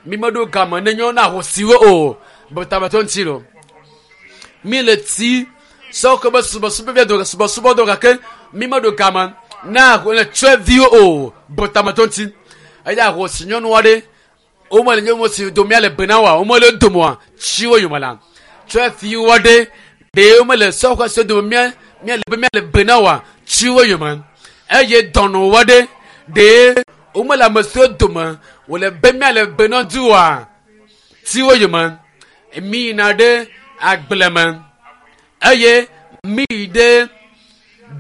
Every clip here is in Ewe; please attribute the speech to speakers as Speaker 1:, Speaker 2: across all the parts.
Speaker 1: Mi meɖo game ne nyɔ na ahosiwo o. Betametɔ ŋuti lo. Mi le ti sɔ ke be subɔsubɔ bia do subɔsubɔ do gake mi meɖo game na le tsɔeviwo o. Betametɔ ŋuti. Eya ahosi nyɔnu aɖe womele nye mo si domea le bena wa womele domoa tsiwo yome la tsɔeviwo aɖe ɖe womele sɔxɔ si dome mía mía le be mía le bena wa tsiwo yome eye dɔnɔwo aɖe ɖe womele ame siwo dome wòle be mía le bena du wa tsiwo yome mi yina ɖe agble me eye mi yi ɖe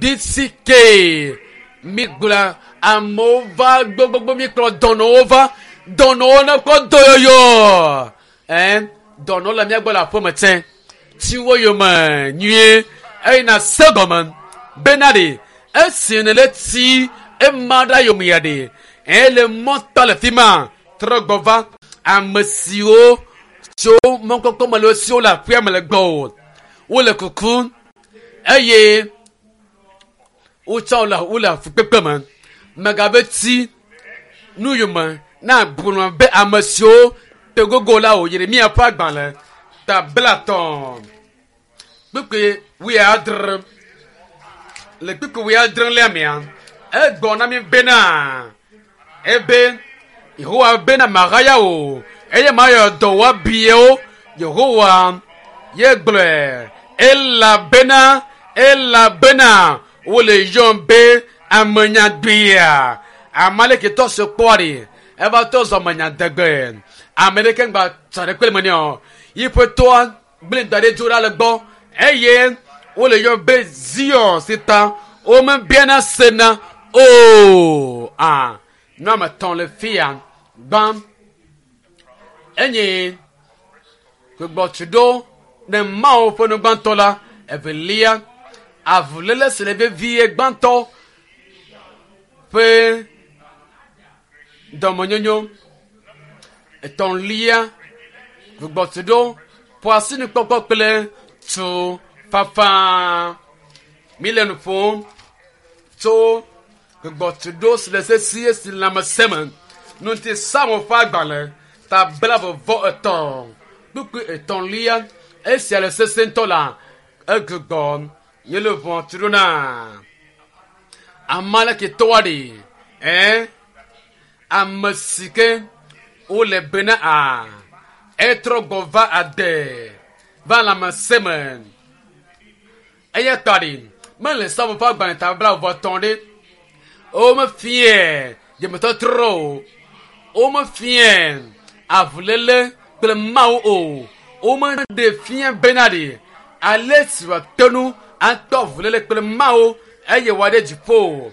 Speaker 1: DCK mi gblɔ amewo va gbogbogbò mi kplɔ dɔnɔwo va dɔnɔwo ne kɔ dɔyɔyɔ ɛn dɔnɔwo le mía gbɔ le aƒeme tsɛ tsiwo yome nyuie eye na se gɔme bena ɖe esi ne le tsi ema ɖa yome ya ɖe ele mɔtɔ le fi ma trɔ gbɔ va ame siwo tso mɔkpɔkpɔ me le siwo le aƒea me le gbɔ o wole kukum eye wotsɔ le wole fukpekpe me megabe tsi nu yome na gblɔ be ame siwo te gogo la o Yeremia ƒe agbalẽ ta 30 kpukpui 70 le kpukpui 70 lia mea egblɔ na mi bena ebe Yehowa bena mahaya o eye mayɔ dɔ woabiewo Yehowa ye gblɔe elabena elabena wole yɔm be amenyagbea ame aleke tɔ se kpɔa ɖe eva tɔ zɔ amenyadegbe ame ɖeke ŋgba tsa ɖe kple me nɛ o yiƒe toa gblẽ da ɖe dzo ɖa le gbɔ eye wole yɔm be Zion si ta womebiana sena o a nu ame etɔ̃ le fia gbã enye gbugbɔtuɖo ne Mawu ƒe nu gbãtɔ la evelia avuléle si le vevie gbãtɔ ƒe dɔmenyonyo etɔ̃lia gbugbɔtuɖo ƒo asinukpɔkpɔ kple tu fafa mi le nu ƒom tso gbugbɔtuɖo si le sesie si lãmesẽ me ŋuti Psalmo ƒe agbalẽ ta 33 kpukpui etɔ̃lia esia le sese ŋutɔ la egbugbɔ nye le ʋɔ tu ɖo na ame aleke tɔa ɖe ɛn ame si ke wole bena a etrɔ gbɔ va ade va lãmesẽ me eya ta ɖe mele Psalmo ƒe agbalẽ ta 33 ɖe womefie dzemetɔtrɔ o womefie avuléle kple Mawu o womeɖe fia bena ɖe ale si wòate ŋu atɔ avuléle kple Mawu eye wòaɖe dziƒo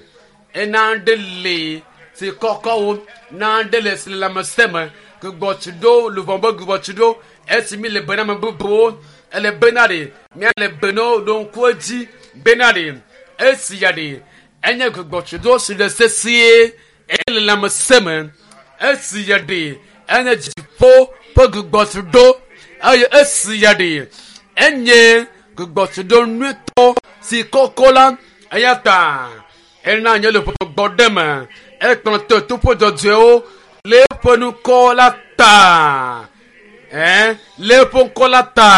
Speaker 1: ena ɖe le si kɔkɔwo na ɖe le si le lãmesẽ me gbugbɔtuɖo luʋɔ be gbugbɔtuɖo esi mi le bena ame bubuwo ele bena ɖe míale bena ɖo ŋku edzi bena ɖe esi ya ɖe enye gbugbɔtuɖo si le sesie ele lãmesẽ me esi ya ɖe enye dziƒo ƒe gbugbɔtuɖo eye esi ya ɖe enye gbugbɔtuɖo nyuitɔ si kɔkɔ la eya ta ena nye le gbɔ ɖe me ekplɔ to toƒe dzɔdzɔewo le eƒe ŋkɔ la ta ɛn le eƒe ŋkɔ la ta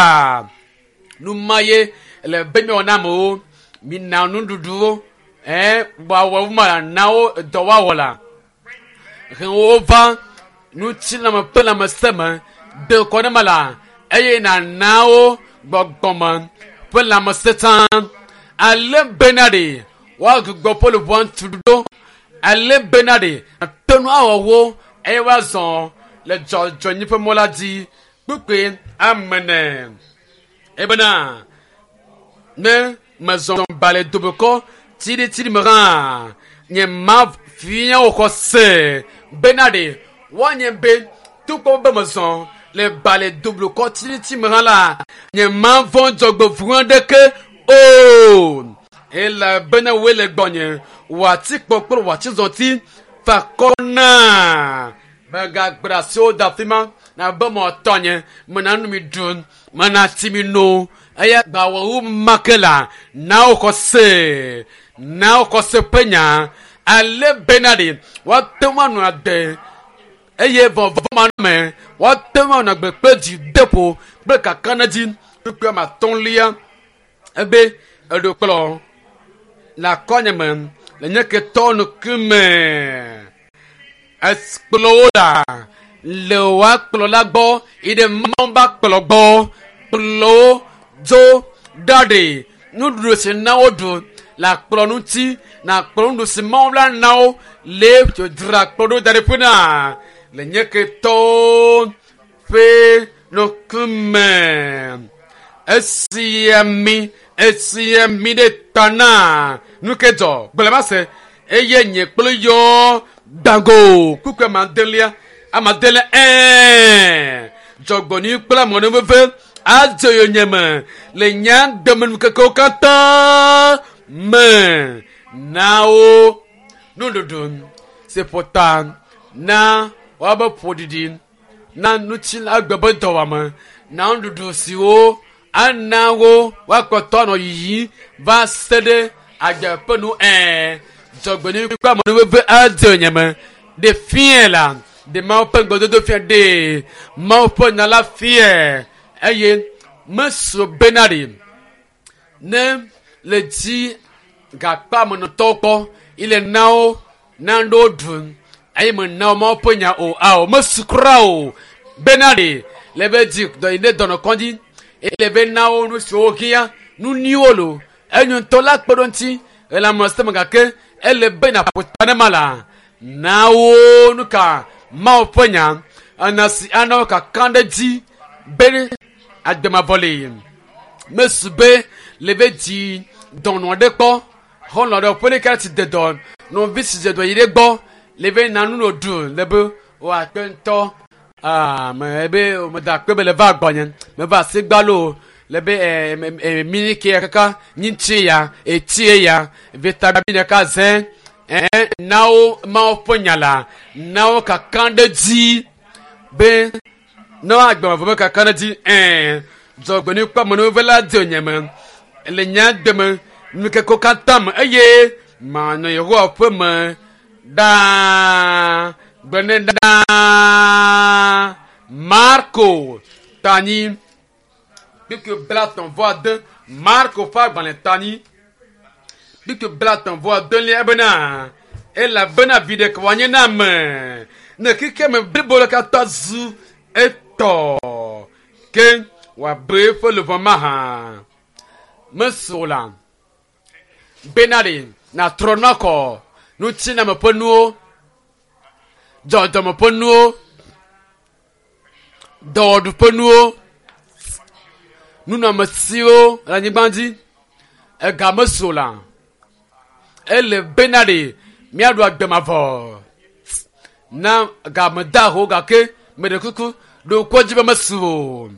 Speaker 1: nu ma ye le be miwɔ na amewo mina nuɖuɖuwo ɛn woawɔ ma na wo dɔ woawɔ la he wo va ŋutilãme ƒe lãmesẽ me de kɔ ne me la eye nana wo gbɔgbɔme ƒe lãmesẽ tsã ale bena ɖe woagbugbɔ ƒe luʋɔ ŋutu ɖo ale bena ɖe ate ŋu awɔ wo eye woazɔ le dzɔdzɔenyi ƒe mɔ la dzi kpukpui amene ebena ne mezɔ ba le dobekɔ tsiɖitsiɖi me hã nye ma fia wo xɔ se bena ɖe woanye be togbɔ be mezɔ le ba le doblukɔ tsiɖitsiɖi me hã la nye ma vɔ̃ dzɔgbevɔ̃ aɖeke o elabena woe le gbɔnye wò atikpɔ kple wò atizɔti fa akɔ na megagbe asiwo da fi ma na be mɔ tɔnye mena nu mi ɖu mena tsi mi no eya gbawɔwu ma ke la na wo xɔ se na wo xɔ se ƒe nya ale bena ɖe woate ŋu anɔ ade. Eye vɔvɔ manɔme woate ŋu anɔ agbe kple dzideƒo kple kakaɖedzi. Kpukpui ame atɔ̃lia ebe eɖo kplɔ le akɔnye me le nye ketɔ ŋkume. Ekplɔ wo ɖa le woa kplɔ la gbɔ yi ɖe Mawu ba kplɔ gbɔ. Kplɔ wo dzo ɖa ɖe nuɖuɖu si na wo ɖu le akplɔ ŋuti na akplɔ nuɖuɖu si Mawu la na wo le dzra kplɔ ɖo da ɖe ƒe na le nye ketɔwo ƒe ŋkume. Esia mi esia mi ɖe ta na nu ke dzɔ gblɔ ma se eye nye kple yɔ gbago kpukpui amadelia amadelia ɛɛ dzɔgbɔnui kple amɔnuveve adze yonyeme le nye agbemenukekewo katã me na wo nuɖuɖu si ƒo ta na woabe ƒoɖiɖi na ŋutilãgbe be dɔwɔame na nuɖuɖu siwo ana wo woakpɔtɔ anɔ yiyim va se ɖe agbe ƒe nu ɛɛ dzɔgbenui kple amenuveve adze yonyeme ɖe fiẽ la ɖe Mawu ƒe ŋugbedodo fia ɖe Mawu ƒe nya la fia eye mesu bena ɖi ne le dzi gakpamenɔtɔwo kpɔ yi le na wo nanewo ɖum eye mena wo Mawu ƒe nya o ao mesu kura o bena ɖi le be dzi dɔ yi ɖe dɔnɔkɔdzi eye le be na wo nu siwo hiã nu nyuiwo lo enyo ŋutɔ la kpe ɖo ŋuti ele ame sia ame gake ele be nàƒo ta ne ma la na wo nu ka Mawu ƒe nya ena si ana wo kaka ɖe dzi be agbemavɔ li mesu be le be dzi dɔnɔ aɖe kpɔ xɔlɔ̃ ɖe ƒe ɖeka si de dɔ nɔvi si dze dɔ yi ɖe gbɔ le be na nu no ɖu le be wòakpe ŋutɔ aa me be meda akpe be le va gbɔnye meva asi gbalo le be ɛ ɛ miliki ya kaka nyitsi ya etsi ya vitamine ɖeka zẽ ɛ na wo Mawu ƒe nya la na wo kaka ɖe dzi be ne woagbemavɔ be kaka ɖe dzi ɛ dzɔgbenui kple amenuveve la dze nye me le nye agbe me nukekewo katã me eye manɔ Yehowa ƒe me ɖaa gblɔ nɛ ɖaa Marko tanyi kpukpui 39 Marko ƒe agbalẽ tanyi kpukpui 39 ebena elabena viɖe ka wòanye na ame ne xexeme blibo la katã zu etɔ ke wòabe eƒe luʋɔ mahã mesu o la bena ɖe nàtrɔ nakɔ ŋutiname ƒe nuwo dzɔdzɔme ƒe nuwo dɔwɔɖu ƒe nuwo nunɔamesiwo le anyigba dzi ega mesu o la ele bena ɖe míaɖu agbe mavɔ na game da ho gake meɖe kuku ɖo ŋku edzi be mesu o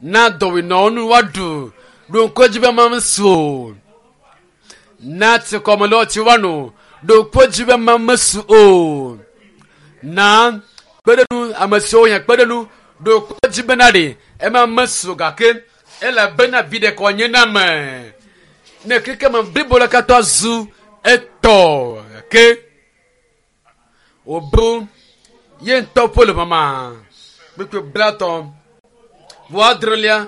Speaker 1: na dɔwɔenɔwo nu woaɖu ɖo ŋku edzi be mesu o na tsikɔmelewo tsi woano ɖo ŋku edzi be mesu o na kpeɖenu ame siwo hiã kpeɖenu ɖo ŋku edzi bena ɖe ema mesu o gake elabena viɖe ka wòanye na ame ne xexeme blibo la katã zu etɔ gake wòbu ye ŋutɔ ƒe luʋɔ ma kpukpui 30 vɔ adrelia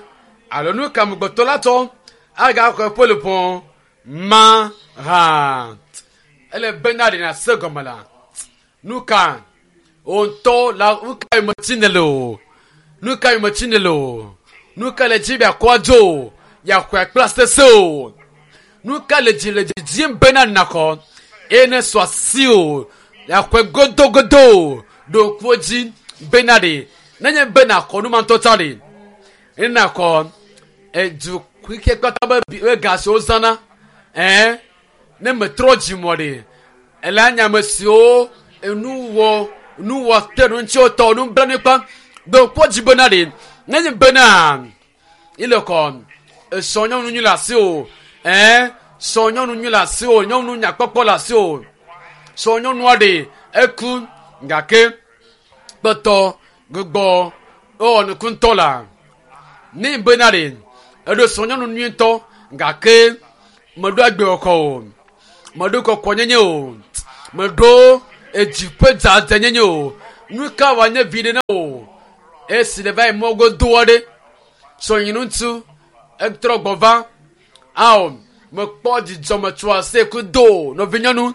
Speaker 1: alo nu ka amegbetɔ la tsɔ agaxɔ eƒe luʋɔ ma hã ele bena ɖe nàse gɔme la nu ka wò ŋutɔ la nu ka yome tsi nèle o nu ka yome tsi nèle o nu ka le dzi be yeakɔ adzo o yeaxɔe kple asese o nu ka le dzi le didim bena nàxɔ eye ne sɔ asi o yeaxɔe godogodo o ɖo ŋku edzi bena ɖe nenye be nàxɔ nu ma ŋutɔ tsã ɖe ne nàxɔ edu xixia kpata be be ga si wozãna ɛɛ ne metrɔ dzimɔ ɖe ele anya ame siwo enu wɔ nu wɔ te ɖo ŋuti wotɔ nublanui kpɔm ɖo ŋku edzi bena ɖe nenye bena ile kɔ esɔ nyɔnu nyui le asi o ɛɛ sɔ nyɔnu nyui le asi o nyɔnu nyakpɔkpɔ le asi o sɔ nyɔnua ɖe eku gake kpɔtɔ gbɔ ewɔ nuku ŋutɔ la ne bena ɖe eɖo sɔ nyɔnu nyui ŋutɔ gake meɖo agbe kɔkɔ o meɖo kɔkɔnyenye o meɖo edzi ƒe dzadzɛnyenye o. Nu ka wòanye viɖe na wò esi nèva yi mɔ godo aɖe? Srɔ̃nyeŋutsu etrɔ gbɔ va. Ao, mekpɔ dzidzɔ metso asi kudo nɔvinyɔnu.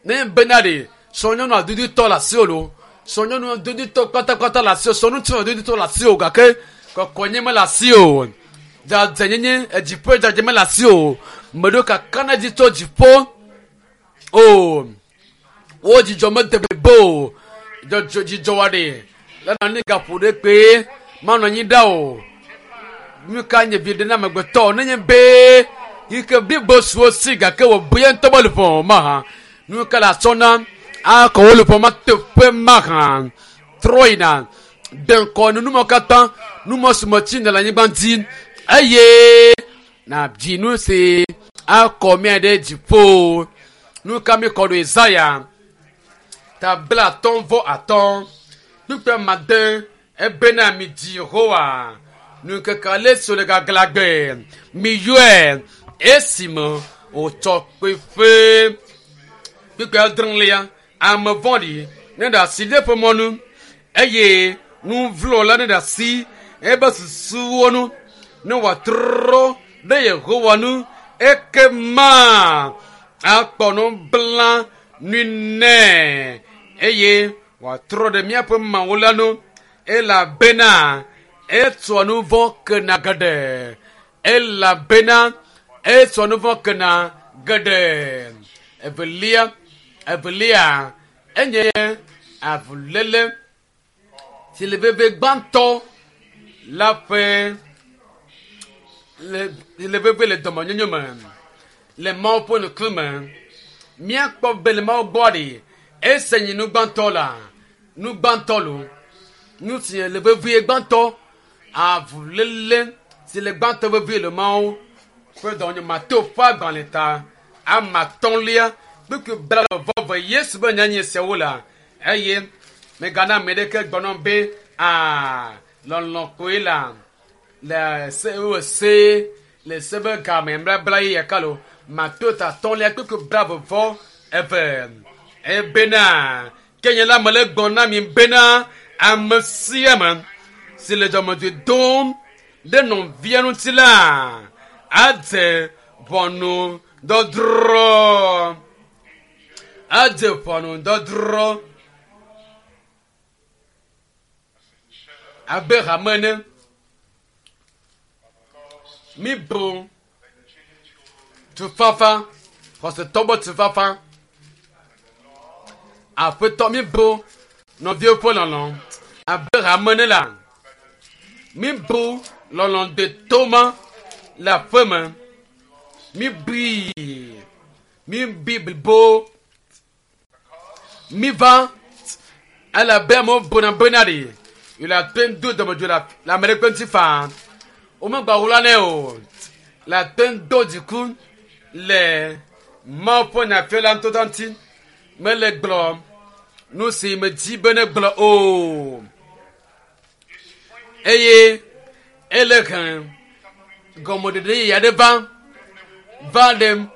Speaker 1: Ne bena ɖe srɔ̃nyɔnu adudutɔ le asiwò loo, srɔ̃nyɔnu adudutɔ kpatakpata le asiwò, srɔ̃ŋutsu adudutɔ le asiwò gake kɔkɔenye mele asiwò o. Dzadzɛnyenye, edziƒo dzadzɛ mele asiwò o. Meɖo kakaɖedzi tso dziƒo o. Wo dzidzɔ mede blibo o. Dzɔdzɔ dzidzɔ wa ɖe le nɔ anyi gaƒo ɖe kpee manɔ anyi ɖa o. Nu ka nye viɖe na amegbetɔ nenye be yi ke blibo su wo si gake wòbu ye ŋutɔ be luʋɔ mahã. Nu ka le atsɔ na akɔ wo luʋɔ ma teƒe mahã. Trɔ yina de ŋkɔ nu numɔ katã numɔ si me tsi nèle anyigba dzi eye nàdzi nu si akɔ mía ɖe dziƒo. Nu ka mi kɔ ɖo Yesaya ta 55 kpukpui amade ebena midzi Yehowa nu ŋkeke ale si wòle gaglãgbe miyɔe esime wòtsɔ kpeƒe. Kpukpui adrelia ame vɔ̃ɖi neɖe asi ɖe eƒe mɔnu eye nu vlo la neɖe asi eƒe susuwo nu ne wòatrɔ ɖe Yehowa nu ekema akpɔ nublanui nɛ eye wòatrɔ ɖe míaƒe Mawu la nu elabena etsɔa nu vɔ̃ kena geɖe elabena etsɔa nu vɔ̃ kena geɖe. Evelia evelia enye avuléle si le veve gbãtɔ la ƒe le le veve le dɔmenyonyo me le Mawu ƒe ŋkume. Míakpɔ be le Mawu gbɔ ɖi ese nyi nu gbãtɔ la nu gbãtɔ lo nu si le vevie gbãtɔ avuléle si le gbãtɔ vevie le Mawu ƒe dɔmenyo Mateo ƒe agbalẽ ta ame atɔ̃lia kpukpui blaeve Yesu be nya nye siawo la eye megana ame ɖeke gblɔ be aa lɔlɔ̃ koe la le se wo se le se be game blabla ye yaka lo Mateo ta atɔ̃lia kpukpui 22 ebena ke nye la mele gblɔ na mi bena ame sia ame si le dɔmedzoe dom ɖe nɔvia ŋuti la adze ʋɔnudɔdrɔ̃ adze ʋɔnudɔdrɔ̃ abe hame ene. Mibu tufafa xɔsetɔ be tufafa aƒetɔ mibu nɔviwo ƒe lɔlɔ̃ abe hame ene la mibu lɔlɔ̃ deto ma le aƒeme mibui mibui blibo miva elabe amewo buna bena ɖi yi le ate ŋu do dɔmedzoe le ame ɖe ƒe ŋuti faa womegba wla nɛ o le ate ŋu do dziku le Mawu ƒe nyafiala ŋutɔ ŋuti mele gblɔ nu si medzi be ne gblɔ o eye ele he gɔmeɖeɖe yeye aɖe va va ɖe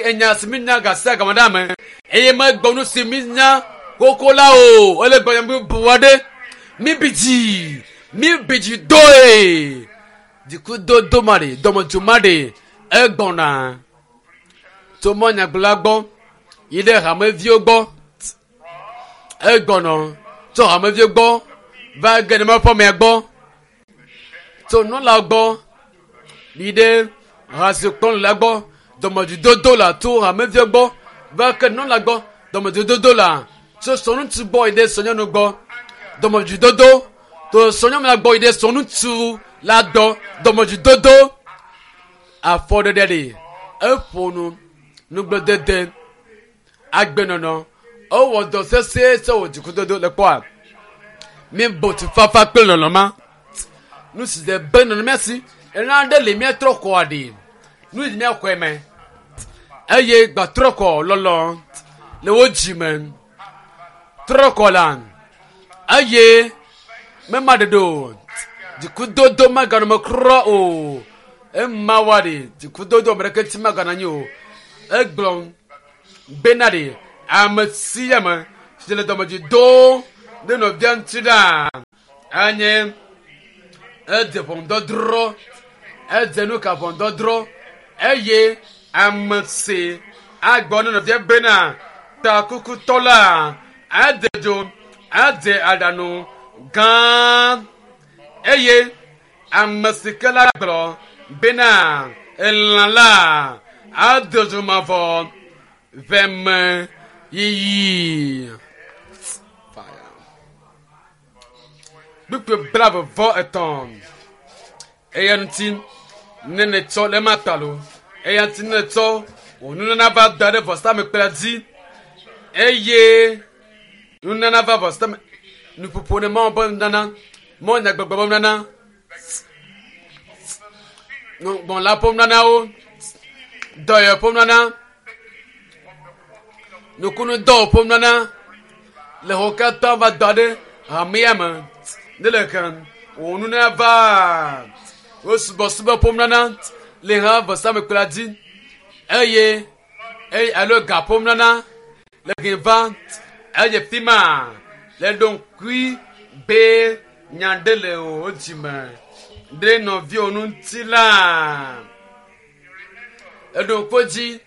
Speaker 1: enya si mi nya gasia game ɖe ame eye megblɔ nu si mi nya xoxo la o ele gblɔ nya bubu aɖe mi bi dzi mi bi dzi doe dzikudodo ma ɖe dɔmedzo ma ɖe egbɔna tso mɔnyagblɔla gbɔ yi ɖe hameviwo gbɔ egbɔnɔ tso hameviwo gbɔ va ge ɖe ƒomea gbɔ tso nunɔla gbɔ yi ɖe hasikplɔla gbɔ dɔmedzododo la tso hameviwo gbɔ va ke nunɔla gbɔ dɔmedzododo la tso srɔ̃ŋutsu gbɔ yi ɖe srɔ̃nyɔnu gbɔ dɔmedzododo tso srɔ̃nyɔnu la gbɔ yi ɖe srɔ̃ŋutsu la gbɔ dɔmedzododo afɔɖeɖe ɖi eƒo nu nugbledede agbenɔnɔ ewɔ dɔ sesẽ se wò dzikudodo le kpɔa mi bo tufafa kple lɔlɔ̃ ma nu si de be nɔnɔ mía si ena ɖe li míatrɔ kɔa ɖi nu si míaxɔe me eye gbatrɔ kɔ lɔlɔ̃ le wo dzi me trɔ kɔ la eye mema ɖeɖe o dzikudodo meganɔ me kura o ema wa ɖi dzikudodo ame ɖeke ŋuti meganɔ anyi o egblɔ bena ɖi ame sia ame si le dɔmedzoe dom ɖe nɔvia ŋuti ɖa anye edze ʋɔnudɔdrɔ̃ edze nu ka ʋɔnudɔdrɔ̃ eye ame si agbɔ ne nɔvia bena takukutɔ la ade dzo adze aɖanu gã eye ame si ke la gblɔ bena elã la ade dzo mavɔ veme yiyi. Fire. Kpukpui blaeve-vɔ-etɔ̃. Eya ŋuti ne nètsɔ le ema ta lo, eya ŋuti ne nètsɔ wò nunana va da ɖe vɔsamlekpui la dzi eye nunana va vɔsame nuƒoƒo ne Mawu ƒe nunana, Mawu nyagbɔgblɔ ƒe nunana, gbɔla ƒe nunanawo, dɔyɔyɔ ƒe nunana, nukunudɔwo ƒe nunana le xɔ katã va da ɖe hamea me ne le hem wò nunana va wo subɔsubɔ ƒe nunana le hã vɔsamlekpui la dzi eye eye alo ga ƒe nunana le he va eye fi ma le ɖo ŋkui be nya ɖe le wò dzime ɖe nɔviwò ŋuti la eɖo ŋku edzi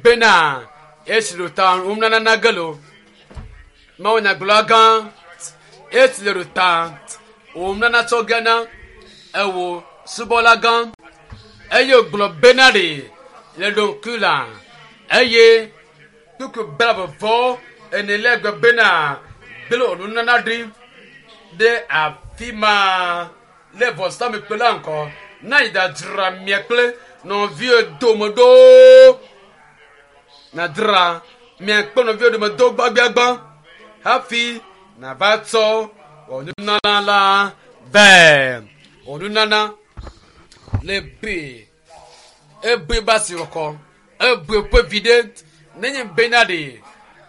Speaker 1: bena esi ɖo ta nunana na ge lo Mawu nyagblɔla gã esi le ɖo ta wò nunana tsɔ ge na ewò subɔla gã eye wògblɔ bena ɖe le ɖo ŋkui la eye kpukpui blaeve-vɔ-enelia gblɔ bena gblẽ wò nunana ɖi ɖe afi ma le vɔsamlekpui la ŋgɔ na yi ɖadzra mia kple nɔviwò dome ɖo. Nàdzra mia kple nɔviwò dome do gbãgbiagbã hafi nàva tsɔ wò nunana la vɛ. Wò nunana le be ebe be asixɔxɔ, ebe ƒe viɖe nenye bena ɖe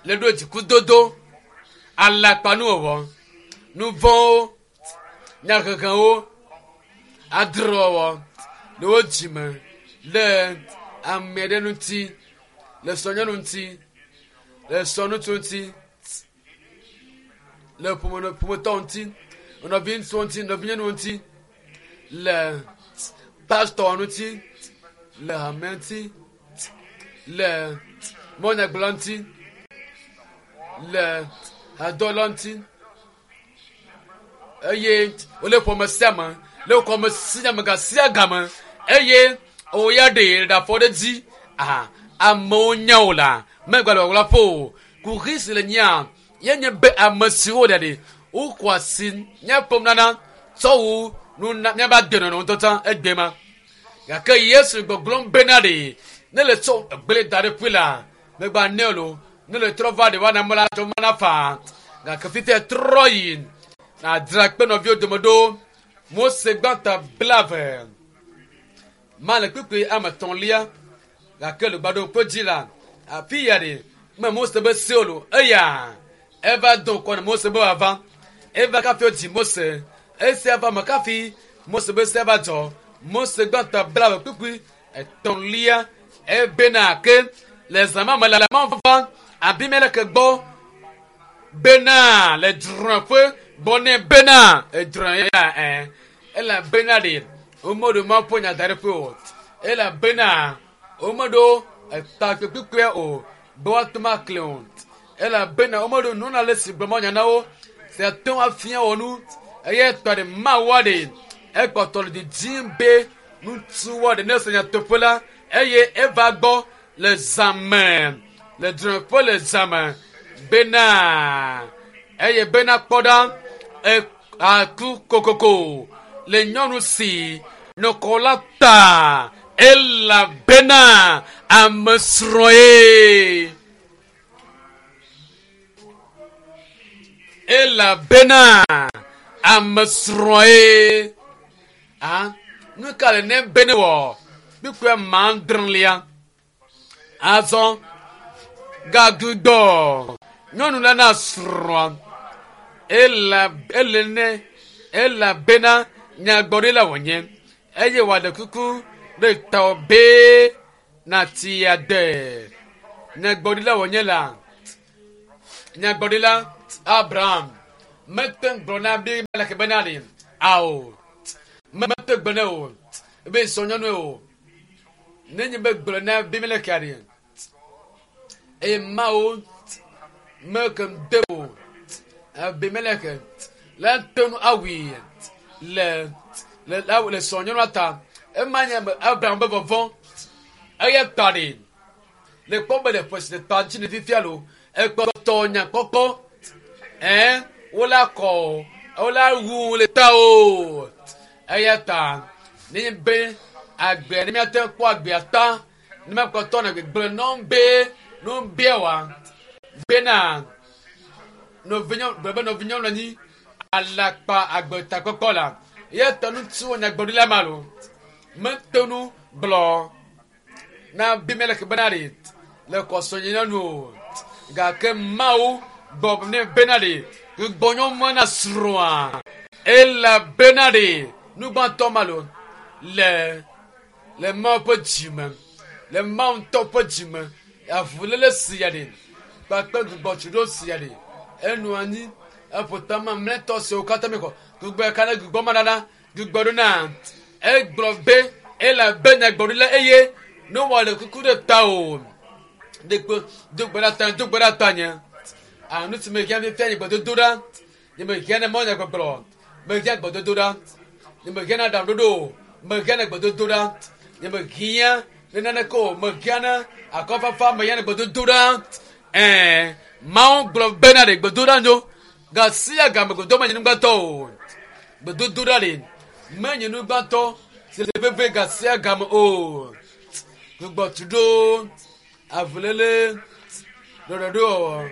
Speaker 1: le ɖo dzikudodo, alakpanuwɔwɔ, nu vɔ̃wo, nyahehewo, adrewɔwɔ le wo dzime le ame aɖe ŋuti, le srɔ̃nyɔnu ŋuti, le srɔ̃ŋutsu ŋuti, le ƒome ƒometɔ ŋuti, nɔviŋutsuwo ŋuti, nɔvinyɔnuwo ŋuti, le pastɔ ŋuti, le hame ŋuti, le mɔnyagblɔla ŋuti, le hadɔla ŋuti eye wole ƒome sia me le xɔme sia me gasia game eye wò ya ɖe ɖe afɔ ɖe dzi aha amewo nya wò la megba le wòwla ƒo o kuxi si le nyia ye nye be ame siwo ɖe ɖe woxɔ asi míaƒe nunana tsɔ wu nuna míaƒe agbenɔnɔ ŋutɔ tsã egbe ma gake Yesu gbɔgblɔm bena ɖe ne le tsɔ egblẽ da ɖe ƒui la megba nɛ o lo ne le trɔ va ɖe woana mɔ la tsɔ mana faa gake fifia trɔ yi nàdzra kpe nɔviwo dome ɖo Mose gbãtɔ 20 ma le kpukpui ame etɔ̃lia gake le gbaɖo dzi la afi ya ɖe me Mose be se o lo eya eva do ŋkɔ na Mose be wòava eva kafi wodzi Mose esia va me kafi Mose be sea va dzɔ Mose gbãtɔ 20 kpukpui etɔ̃lia ebena ke le zã ma me la Mawu va Abimelek gbɔ bena le drɔ̃eƒe gbɔ nɛ bena edrɔ̃e ya ɛ elabena ɖe womeɖo Mawu ƒe nya da ɖe ƒe o elabena womeɖo etakpekpekpea o be woate ŋu akli o elabena womeɖo nunɔla le si gblɔ Mawu nya na wo si ate ŋu afia wɔ nu eye tɔ ɖe Mawua ɖe ekpɔtɔ le didim be ŋutsuwoa ɖe ne se nyateƒe la eye eva gbɔ le zã me le drɔ̃eƒe le zã me bena eye bena kpɔ ɖa aku kokoko le nyɔnu si nɔkɔ la ta elabena ame srɔ̃e elabena ame srɔ̃e a nu ka le ne be ne wɔ kpukpui adrelia azɔ gagbugbɔ nyɔnu la na srɔ̃a ela ele ne elabena nyagblɔɖila wònye eye wòaɖe kuku ɖe tawò be nàtsi agbe. Nyagblɔɖila wònye la nyagblɔɖila Abraham. Mete ŋu gblɔ na Abimelek bena ɖe ao, mete gbe nɛ o, be srɔ̃nyɔnue o. Nenye be gblɔ na Abimelek ɖe, eye Mawu meke de o, Abimelek la te ŋu awui le le le srɔ̃nyɔnua ta. Ema nye Abraham be vɔvɔ̃. Eya ta ɖe le kpɔ be le ƒe si le ta dzi le fifia lo, ekpɔtɔ nya kpɔkpɔ. Ɛɛ, wola kɔ, wola wu le ta o. Eya ta nenye be agbea ne míate ŋu kpɔ agbea ta, ne míakpɔtɔ na gbegblẽ nɔm be nu bia wa bena nɔvinyɔ gblɔ be nɔvinyɔnu anyi alakpa agbetakpɔkpɔ la. Eya ta ŋutsu nyagblɔɖila ma lo mete ŋu gblɔ na Abimelek bena ɖe le kɔsɔnyenyɔnu o. Gake Mawu gbɔ nɛ bena ɖe gbɔnyɔmɔ na srɔ̃a elabena ɖe nu gbãtɔ ma lo le le Mawu ƒe dzime, le Mawu ŋutɔ ƒe dzime, avuléle sia ɖe kpakple gbugbɔtsuɖo sia ɖe enɔ anyi eƒo ta mamlɛtɔ siwo katã mi xɔ gbugbɔ ka ne gbugbɔ ma nana gbugbɔ ɖo na egblɔ be elabe nyagblɔɖila eye ne wòale kuku ɖe ta o ɖekpe do gbe ɖa ta do gbe ɖa ta nye a nu si mehiã fifia nye gbedodo ɖa nye mehiã ne mɔ nyagbɔgblɔ mehiã gbedodo ɖa nye mehiã na aɖaŋuɖoɖo o mehiã ne gbedodo ɖa nye mehiã ne naneke o mehiã ne akɔfafa mehiã ne gbedodo ɖa ɛɛ Mawu gblɔ bena ɖe gbedoɖa nyo gasia game gbedoɖa menye nugbãtɔ o gbedodoɖa ɖe menye nugbãtɔ si le veve gasia game o gbugbɔtuɖo avuléle ɖɔɖɔɖo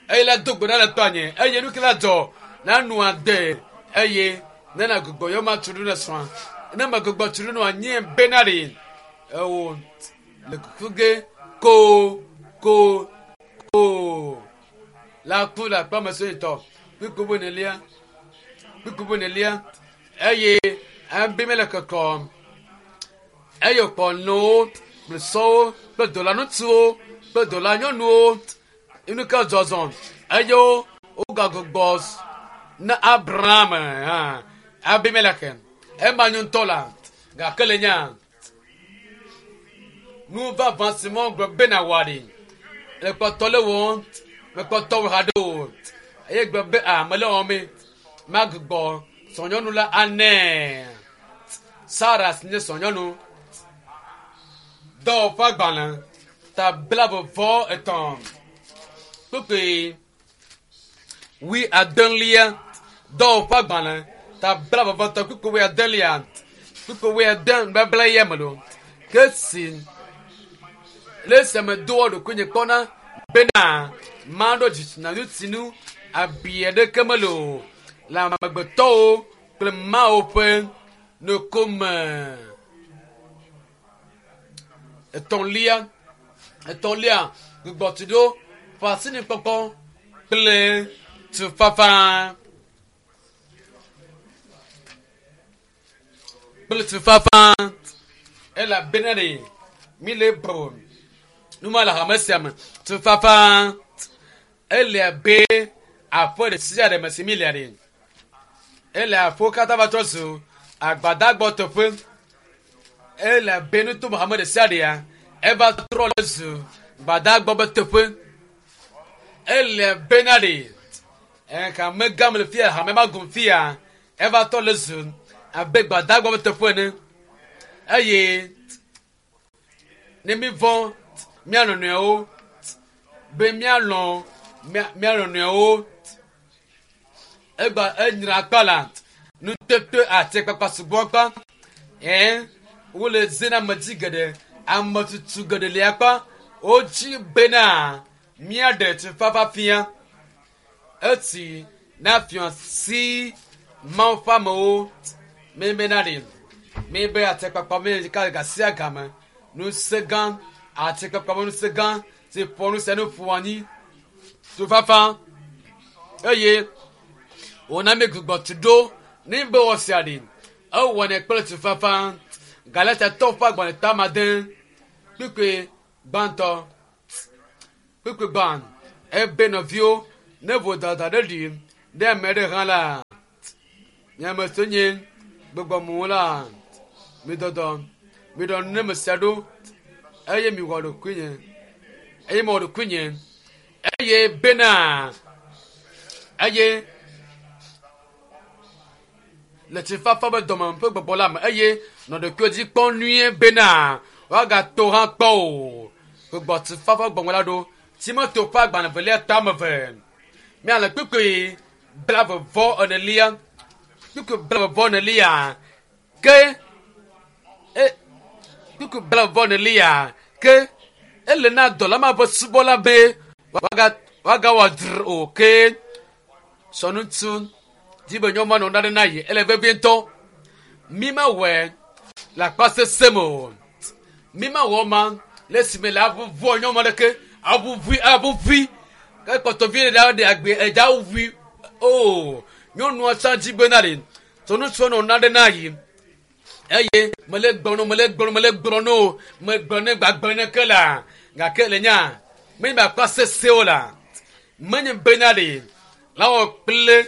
Speaker 1: eye la do gbe ɖa le tɔanye eye nu ke la dzɔ na nua de eye ne na gbugbɔ yɔ ma tu ɖo ne srɔ̃a ne me gbugbɔ tu ɖo nua nye bena ɖe ewo le kuku ge ko ko ko la ku le akpa me sɔyintɔ kpukpu bu nelia kpukpu bu nelia eye Abimelek kɔ eye wòkpɔ nowo kple sɔwo kple dɔlaŋutsuwo kple dɔlanyɔnuwo nu ke zɔzɔ eye wogagbugbɔ na Abraham hã Abimelek ema nyo ŋutɔ la gake le nya nu vavã si me gblɔ bena wɔ ɖi le kpɔtɔ le wɔm mekpɔtɔ wɔ haɖe o eye gblɔ be a mele wɔm me magbugbɔ srɔ̃nyɔnu la anɛ Sara si nye srɔ̃nyɔnu dɔwɔƒe agbalẽ ta 33 kpukpui 80 dɔwɔƒe agbalẽ ta 33 kpukpui 80 kpukpui 80 nubabla ya me lo ke si le esi me doa ɖokuinye kpɔna bena maɖo dzitsinya ŋutinu abi aɖeke mele o le amegbetɔwo kple Mawu ƒe ŋkume. Etɔ̃lia, etɔ̃lia gbugbɔtuɖo ƒe asinikpɔkpɔ kple tufafa kple tufafa elabena ɖe mi le bro nu ma le hame sia me tufafa ele abe aƒe ɖe sia ɖe me si mi lia ɖe ele aƒewo katã va trɔ zu agbadagbɔ teƒe ele abe nuto hame ɖe sia ɖea eva trɔ le zu gbadagbɔ be teƒe ele bena ɖe ɛka megã me le fia hame ma gum fia eva tɔ le zu abe gbadagbɔ be teƒe ene eye ne mi vɔ̃ mía nɔnɔewo be míalɔ̃ mía nɔnɔewo egba enyra akpa la nutete atikpakpa sugbɔ akpa ɛɛ wole zi na ame dzi geɖe ame tutu geɖe li akpa wodzi bena míaɖe tufafa fia esi na fia si Mawu ƒe amewo mi bena ɖe mi be atikpakpa mi ka gasia game ŋusẽ gã atikpakpa be ŋusẽ gã si ƒo nu sia nu ƒo anyi tufafa eye wòna mi gbugbɔ tu ɖo ne be wɔ sia ɖe ewɔnɛ kple tufafa Galatiatɔwo ƒe agbalẽ ta ade kpukpui gbãtɔ kpukpui gbã ebe nɔviwo ne vodada ɖe ɖi Ɖe ame aɖe hã la, mi ame siwo nye gbɔgbɔmewo la, midɔdɔ, miɖɔ nu ne ame sia ɖo eye miwɔ ɖokuinye eye mewɔ ɖokuinye eye bena eye le tsifafa be dɔme ƒe gbɔgbɔ la me eye nɔ ɖokuiwo dzi kpɔm nyuie bena woagato hã kpɔ o. Gbɔgbɔ tsifafa gbɔgbɔ la ɖo Timoteo ƒe agbalẽ velia tame ve. Míale kpukpui blave vɔ enelia. Kpukpui blave vɔ enelia ke e kpukpui blave vɔ enelia ke ele na dɔla ma ƒe subɔla be woaga woagawɔ dzre o ke sɔnutsu dzi be nyɔnua nɔ naɖe na yi ele vevie ŋutɔ. Mi mewɔe le akpa sese me o. Mi mewɔ ma le esime le aʋuʋua nyɔnua ɖeke aʋuʋui aʋuʋui ke kpɔtɔ vi ɖe ɖe agbe edza ʋui o. Nyɔnua tsã dzi be na ɖe sɔnutsua nɔ naɖe na yi eye mele gblɔ mele gblɔ mele gblɔ no megblɔ ne gbagblɔ ne ke la gake le nya menye be akpa sese o la menye bena ɖe la wɔ kple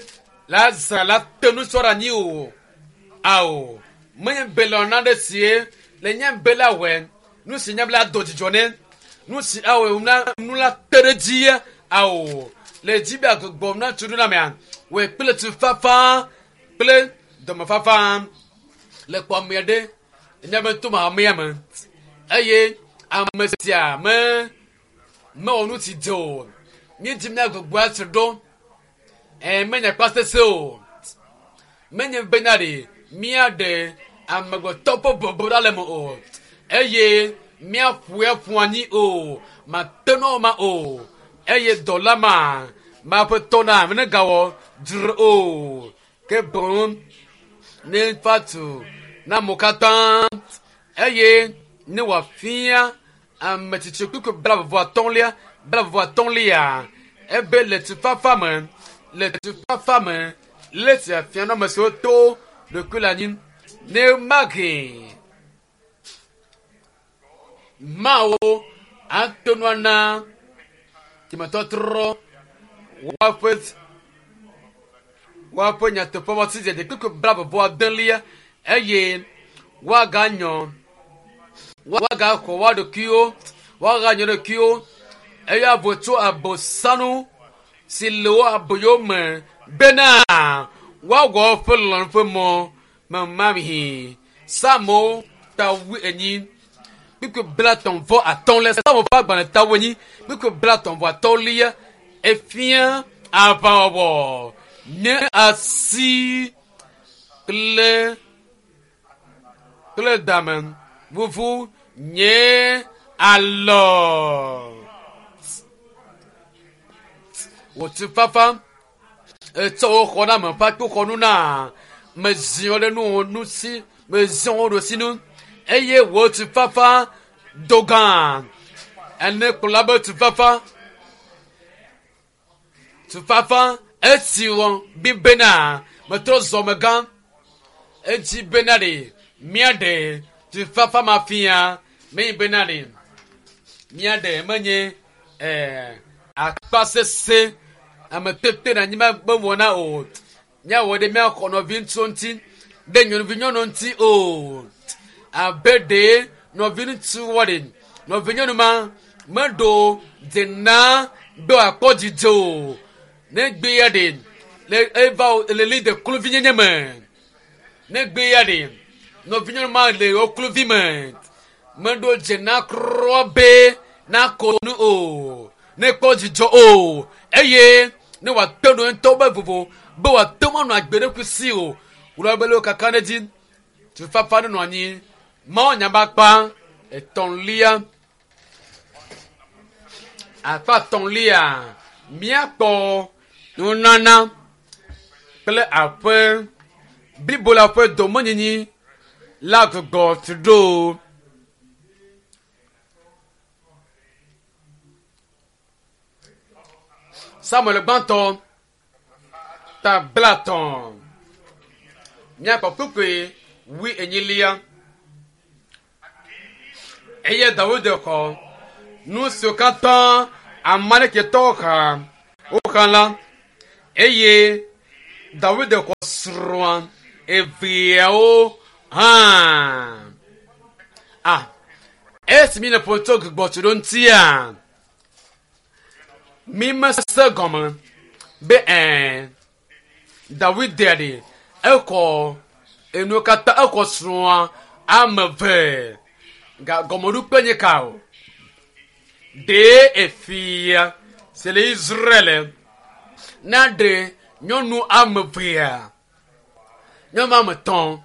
Speaker 1: la zã la te nusɔ ɖe anyi o ao menye be le naɖe sie le nye be la wɔe nu si nye be la do dzidzɔ ne nu si awɔe na nu la te ɖe dzi ao le dzi be agbɔ na tu ɖo na mea wɔe kple tufafa kple dɔmefafa le kpɔ ame aɖe nye be to hamea me eye ame sia me mewɔ nu si dze o míedzi mía gbogbo ase ɖo ɛ menye akpa sese o menye bena ɖe míaɖe amegbetɔ ƒe bɔbɔ ɖa le me o eye míaƒoe aƒu anyi o mate nɔ ma o eye dɔla ma ma ƒe tɔ na ne gawɔ dzre o ke boŋ ne fa tu na amewo katã eye ne wòafia ame tsitsi kpukpui blavɔ atɔ̃lia blavɔ atɔ̃lia ebe le tufafa me le tufafa me le sia fia na ame siwo to ɖokui le anyi ne mahe mawo ate ŋu ana dzimetɔtrɔ woaƒe woaƒe nyateƒe wɔsi dzedze kpukpui blavɔ adelia eye woaganyɔ woagaxɔ woa ɖokuiwo woaganyɔ ɖokuiwo eye avo tso abosanu si le wo aboyo me bena woawɔ woƒe lɔlɔ̃nu ƒe mɔ memamhi Psalmo ta wuienyi kpukpui blatɔ̃ vɔ atɔ̃ le Psalmo ƒe agbalẽ ta wuienyi kpukpui blatɔ̃ vɔ atɔ̃lia efia aʋawɔwɔ nye asi kple kple dame vuvu nye alɔ. Wò tufafa etsɔ wò xɔname ƒe akpoxɔnu na meziɔ ɖe nu nu si meziɔ wo ɖo si nu eye wò tufafa do gã ene kplɔla be tufafa tufafa esi wɔ bi bena metrɔ zɔ megã edzi bena ɖe míaɖe tufafa ma fia menye bena ɖe míaɖe menye ɛɛ akpa sese ame tete ɖe anyi be wɔna o míawɔ ɖe míaxɔ nɔvi ŋutsuwo ŋuti ɖe nyɔnuvi nyɔnu ŋuti o abe ɖe nɔvi ŋutsu wɔ ɖe nɔvi nyɔnu ma meɖo dzena be wòakpɔ dzidzɔ o ne gbe ya ɖe le eva le li de kluvi nyenye me ne gbe ya ɖe nɔvi nyɔnu ma le wo kluvi me meɖo dzena kura be nako nu o ne kpɔ dzidzɔ o eye ne wòate ɖo ŋutɔ be vovo be wòate ŋu anɔ agbe ɖokui si o wòle be le wo kaka ɖe dzi tufafa nenɔ anyi mawu nya be akpa etɔ̃lia akpa etɔ̃lia míakpɔ nunana kple aƒe blibo la ƒe domenyinyi la gbugbɔ tu ɖo. Samuel gbãtɔ ta blatɔ̃ míakpɔ kpukpui wui enyilia eye Dawid xɔ nu siwo katã Amalekitɔwo xa woxa la eye Dawid xɔ srɔ̃a eveawo hã. Ah, esi mi le ƒo tso gbugbɔtso ɖo ŋutia, mi mese gɔme be ɛɛ Dawid ɖe exɔ enuwo katã exɔ srɔ̃a ame eve ga gɔmeɖokpe nye ka o. Ɖee efia si le Israel naɖe nyɔnu ame evea, nyɔnu ame etɔ̃,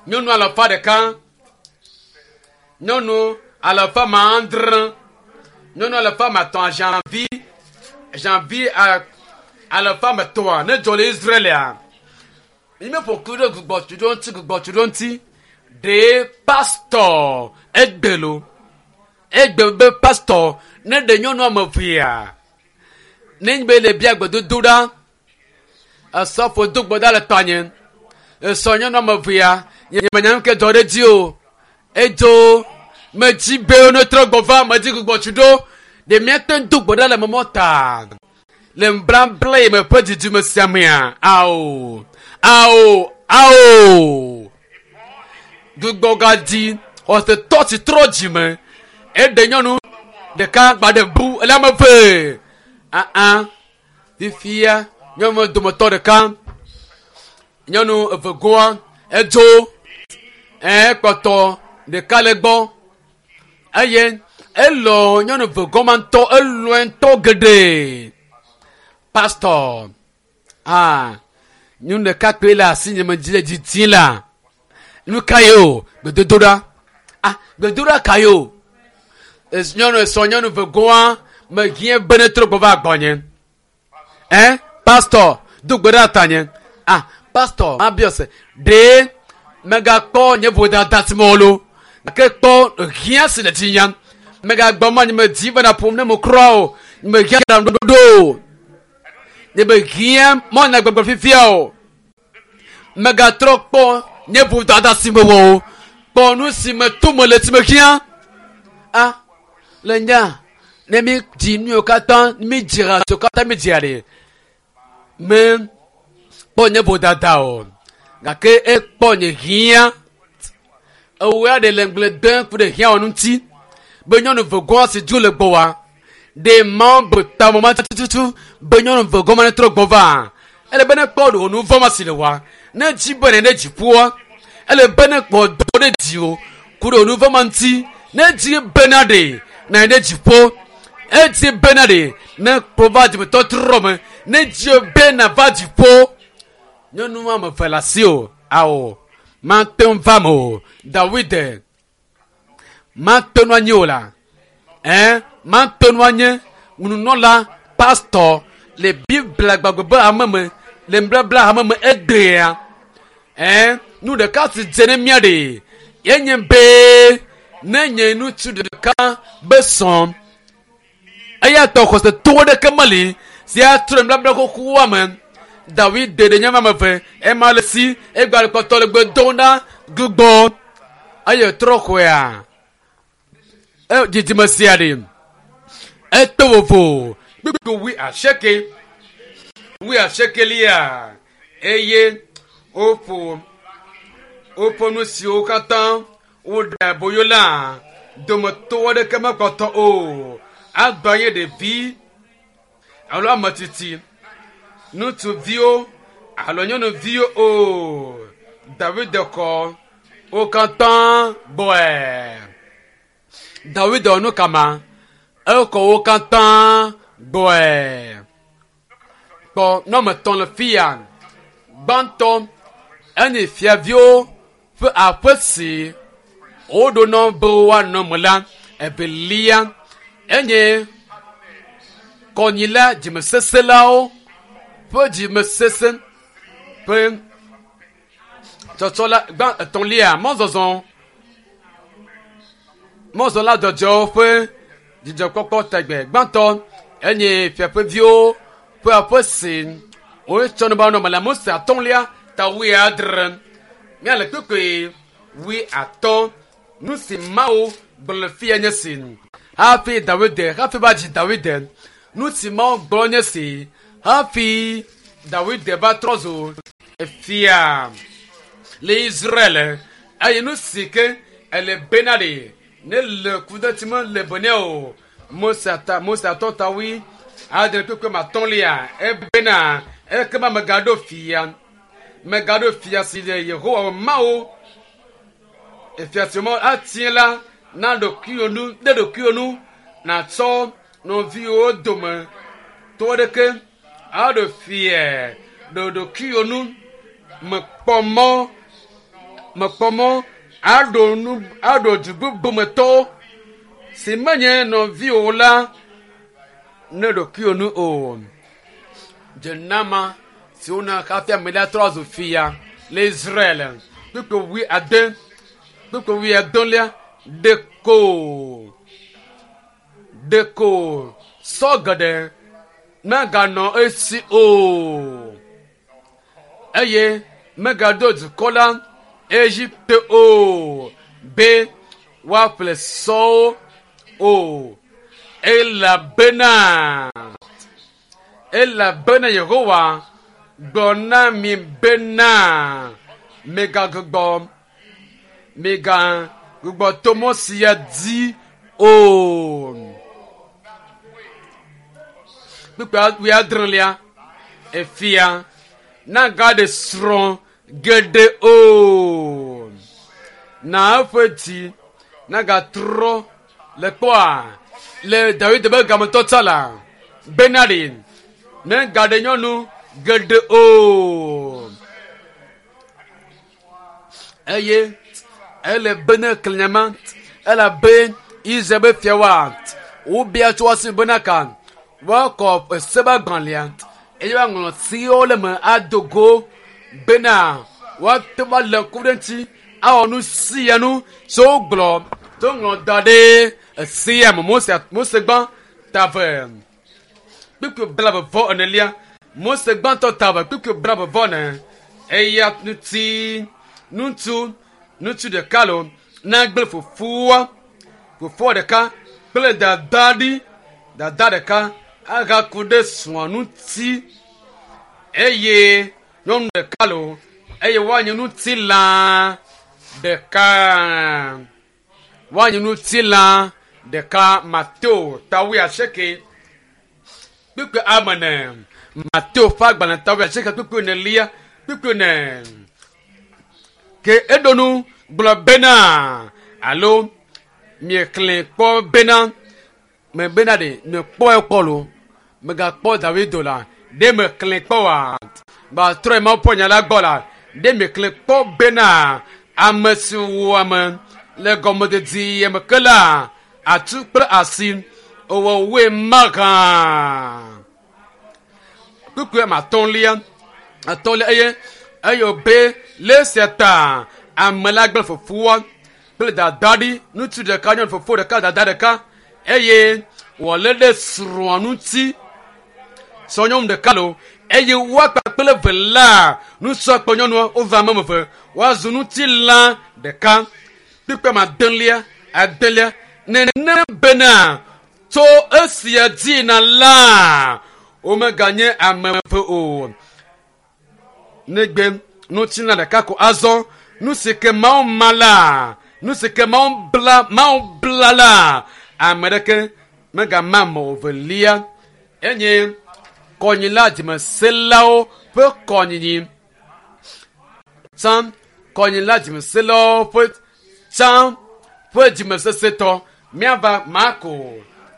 Speaker 1: nyɔnu alafa ɖeka, nyɔnu alafa ma adre, nyɔnu alafa ma etɔ̃ janvi janvi alafa ma etɔ̃a ne dzɔ le Israelia. Mi meƒo ku ɖe gbugbɔtu ɖo ŋuti gbugbɔtu ɖo ŋuti. Ɖee pastɔ egbe lo. Egbe be pastɔ ne ɖe nyɔnu ame evea. Ne nye be le bia gbedodo ɖa. Esɔfo do gbe ɖa le tɔnye. Esɔ nyɔnu ame evea. Nye menya nu ke dzɔ ɖe edzi o. Edzo medzi be ne trɔ gbɔ va medzi gbugbɔtu ɖo. Ɖe míate ŋu do gbe ɖa le mɔmɔ ta le nubabla yi me ƒe dzidzime sia mea? Ao, ao, ao. Gbugbɔgadzi xɔsetɔ si trɔ dzime eɖe nyɔnu ɖeka gba ɖe bu ele ame eve. Aa, fifia nyɔnu dometɔ ɖeka nyɔnu eve goa edzo ekpɔtɔ ɖeka le gbɔ eye elɔ nyɔnu eve gɔma ŋutɔ elɔe ŋutɔ geɖe. Pastor, ah, nyɔnu ɖeka kpoe le asi nye me dzi le didi la. Nu ka ye o? Gbedodoɖa. Ah, gbedodoɖa ka ye o? Nyɔnu esɔ nyɔnu eve goa mehiã be ne trɔ gbɔ va gbɔnye. Eh, pastor, do gbe ɖa tanye. Ah, pastor, mabiɔ se, ɖe megakpɔ nye vodada si mewɔ lo, gake kpɔ hiã si le dzinye. Megagbɔ ma nye medzi bena ƒom ne mekura o, nye mehiã ɖaŋuɖoɖo o. Nye mehiã mɔna gbɔgblɔ fifia o. Megatrɔ kpɔ nye vodada si mewɔ o. Kpɔ nu si me to mele si mehiã. Ah, le nya ne mi dzi nu yiwo katã mi dzra siwo katã mi dzia ɖe me kpɔ nye vodada o gake ekpɔ nye hiã ewɔe aɖe le ŋgble dem ku ɖe hiã wɔnu ŋuti be nyɔnu vegɔa si dzo le gbɔwa ɖe mawo be tame ma tututu be nyɔnu vegɔ ma ne trɔ gbɔ va ele be ne kpɔ ɖe nu vɔ ma si le wa ne dzi be ne ɖe dziƒoa ele be ne kpɔ dɔ ɖe dziwò ku ɖe nu vɔ ma ŋuti ne dzi bena ɖe na ɖe dziƒo edzi bena ɖe ne kpɔ va dzimetɔtrɔ me ne dzi bena va dziƒo nyɔnu ame eve le asi o ao mate ŋu va me o Dawid mate ŋu anyi o la ɛn mate ŋu anye nunɔla pastor le Biblia gbagbe be hame me le nubabla hame me egbea ɛn nu ɖeka si dze ne mía ɖe yenye be ne nye ŋutsu ɖeka be sɔn eya tɔ xɔsetɔ ɖeke meli si atrɔ nubabla xoxoa me. Dawid ɖe nye ame eve ema le si egba le kpɔtɔ le gbe dom ɖa gbugbɔ eye trɔ xɔea e dzidzime sia ɖe eto vovo kpukpu wui asieke wui asiekelia eye woƒo woƒe nu siwo katã woɖe aboyo la dometɔ aɖeke mekpɔtɔ o agba nye ɖevi alo ame tsitsi ŋutsuviwo alo nyɔnuviwo o Dawid kɔ wo katã gbɔe. Dawid wɔ nu kama ekɔ wo katã gbɔe. Kpɔ nɔme tɔ̃ le fi ya. Gbãtɔ enye fiaviwo ƒe aƒe si woɖonɔ be woanɔ me la. Evelia enye kɔnyila dzimesesẽlawo ƒe dzimesesẽ ƒe tsɔtsɔ la. Gbã etɔ̃lia mɔzɔzɔ mɔzɔla dzɔdzɔewo ƒe dzidzɔkpɔkpɔ tegbe. Gbãtɔ enye fiaƒeviwo ƒe aƒe si wotsɔ nu be woanɔ me le Mose atɔ̃lia ta wuiadre. Míale kpukpui wuiatɔ̃. Nu si Mawu gblɔ le fia nye si. Hafi Dawid hafi va dzi Dawid. Nu si Mawu gblɔ nye si hafi Dawid va trɔ zu efia le Israel eye nu si ke ele bena ɖe ne le kudeti me le bene o Mose ata Mose atɔ tawi adre kpekpe matɔlia ebena ekema megaɖo fia megaɖo fia si le Yehowa Mawu efia si Mawu atie la na ɖokuiwò nu ɖe ɖokuiwò nu nàtsɔ nɔviwò dome to ɖeke aɖo fia ɖe ɖokuiwò nu mekpɔ mɔ mekpɔ mɔ aɖo nu aɖo du bubu me tɔwo si menye nɔviwò la ne ɖokuiwò nu o. Dzenama si wona hafi ame la trɔ zu fia le Israel. Kpukpui wuiade, kpukpui wuiadelia ɖeko ɖeko sɔ geɖe meganɔ esi o eye megaɖo dukɔ la Egipte o be woaƒle sɔwo o elabena elabena Yehowa gblɔ na mi bena megagbugbɔ megagbugbɔ to mɔ sia dzi o. Kpukpui wuiadrelia efia nagaɖe srɔ̃ geɖe o. Na eƒe dzi nagatrɔ le kpɔa le Dawid be gametɔ tsa la bena ɖe negaɖe nyɔnu geɖe o. Eye ele bene klẽnyama elabe Israel be fiawoa wobia tso woasi bena ka woakɔ ese be agbalẽa eye woaŋlɔ sewo le eme ado go bena woate ŋu alé ŋku ɖe eŋuti awɔ nu sia nu si wogblɔ to ŋlɔ da ɖe esea me Mose Mose gbã ta eve kpukpui blaeve vɔ enelia Mose gbãtɔ ta eve kpukpui blaeve vɔ ene eya ŋuti ŋutsu ŋutsu ɖeka lo nagblẽ fofoa fofoa ɖeka kple dada ɖi dada ɖeka agaku ɖe srɔ̃a ŋuti eye nyɔnu ɖeka lo eye woanye ŋutilã ɖeka woanye ŋutilã ɖeka Mateo ta wuiasieke kpukpui ame ene Mateo ƒe agbalẽ ta wuiasieke kpukpui enelia kpukpui ene ke eɖo nu gblɔ bena alo miexlẽ kpɔ bena me bena ɖe mekpɔe kpɔ lo megakpɔ David o la ɖe mexlẽ kpɔ oa batrɔe Mawu ƒe nya la gbɔ la ɖe mexlẽ kpɔ bena ame si wu ame le gɔmedidi me ke la atu kple asi ewɔ woe mahã kpukpui ame atɔ̃lia atɔ̃lia eye eye wòbe le esia ta ame la gblẽ fofoa kple dada ɖi ŋutsu ɖeka nyɔnu fofo ɖeka dada ɖeka eye wòalé ɖe srɔ̃a ŋuti srɔ̃nyɔnu ɖeka lo eye woa kpakple eve la ŋutsua kple nyɔnua wova ame eve woazu ŋutilã ɖeka kpukpui ame adelia adelia nenem bena tso esia dzi na la womeganye ame eve o negbe ŋutilã ɖeka ko azɔ nu si ke Mawu ma la nu si ke Mawu bla Mawu bla la ame ɖeke megama ame evelia enye kɔnyila dzimeselawo ƒe kɔnyinyi tsã kɔnyila dzimeselawo ƒe tsã ƒe dzimesesetɔ míava Marko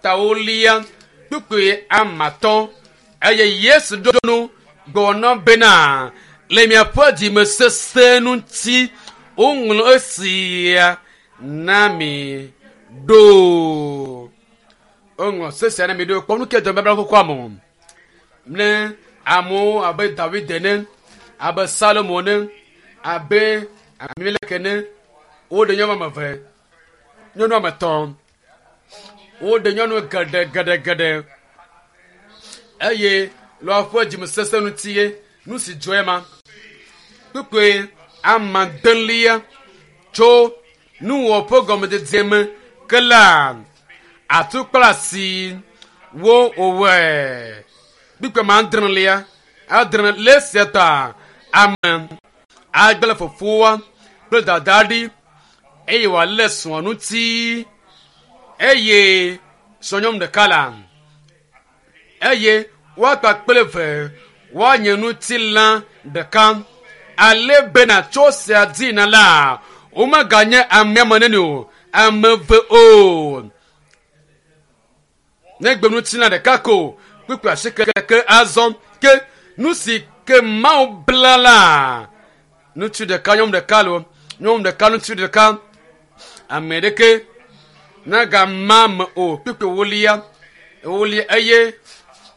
Speaker 1: tawolia kpukpui ame atɔ̃ eye Yesu ɖo nu gblɔ bena le miaƒe dzimesese ŋuti woŋlɔ esia na mi ɖo. Woŋlɔ se sia na mi ɖo. Kpɔ nu ke dɔ babla xoxoa me o. Ne amewo abe Dawid ene, abe Salomo ene, abe Abimelek ene, woɖe nyɔnu ame eve, nyɔnu ame etɔ̃, woɖe nyɔnu geɖe geɖe geɖe eye le woƒe dzimesese ŋuti ye nu si dzɔe ma. Kpukpui ame adelia tso nuwɔƒe gɔmedzedze me ke la atu kple asi wo wòwɔe. Kpukpui ame adrelia. Adre le esia ta ame agblẽ fofoa kple dadaa ɖi eye wòalé srɔ̃a ŋuti eye srɔ̃nyɔnu ɖeka la eye woakpa kple ve woanye ŋutilã ɖeka ale bena tso sia dina la womeganye ame ame nene o ame eve o negbe ŋutilã ɖeka ko kpukpui asieke azɔ ke nu si ke Mawu bla la ŋutsu ɖeka nyɔnu ɖeka lo nyɔnu ɖeka ŋutsu ɖeka ame ɖeke nagama me o kpukpui ewolia ewolia eye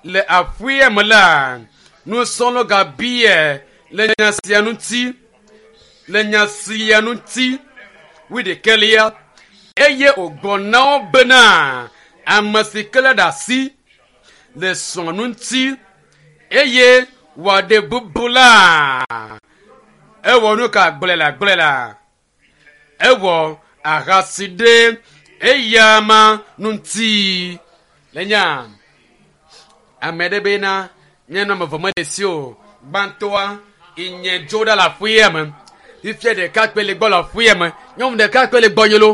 Speaker 1: le aƒea me la nusrɔ̃lawo gabia le nya sia ŋuti le nya sia ŋuti wuiɖekɛlia eye wògblɔ na wo bena ame si ke lé ɖe asi le srɔ̃a ŋuti eye wòaɖe bubu la ewɔ nu ka gblɔe la gblɔe la ewɔ ahasi ɖe eyama ŋuti le nya ame ɖe bena nye nɔme vɔ mele si o gbãtɔa inye dzo ɖa le aƒea me fifia ɖeka kpe le gbɔ le aƒea me nyɔnu ɖeka kpe le gbɔ nye lo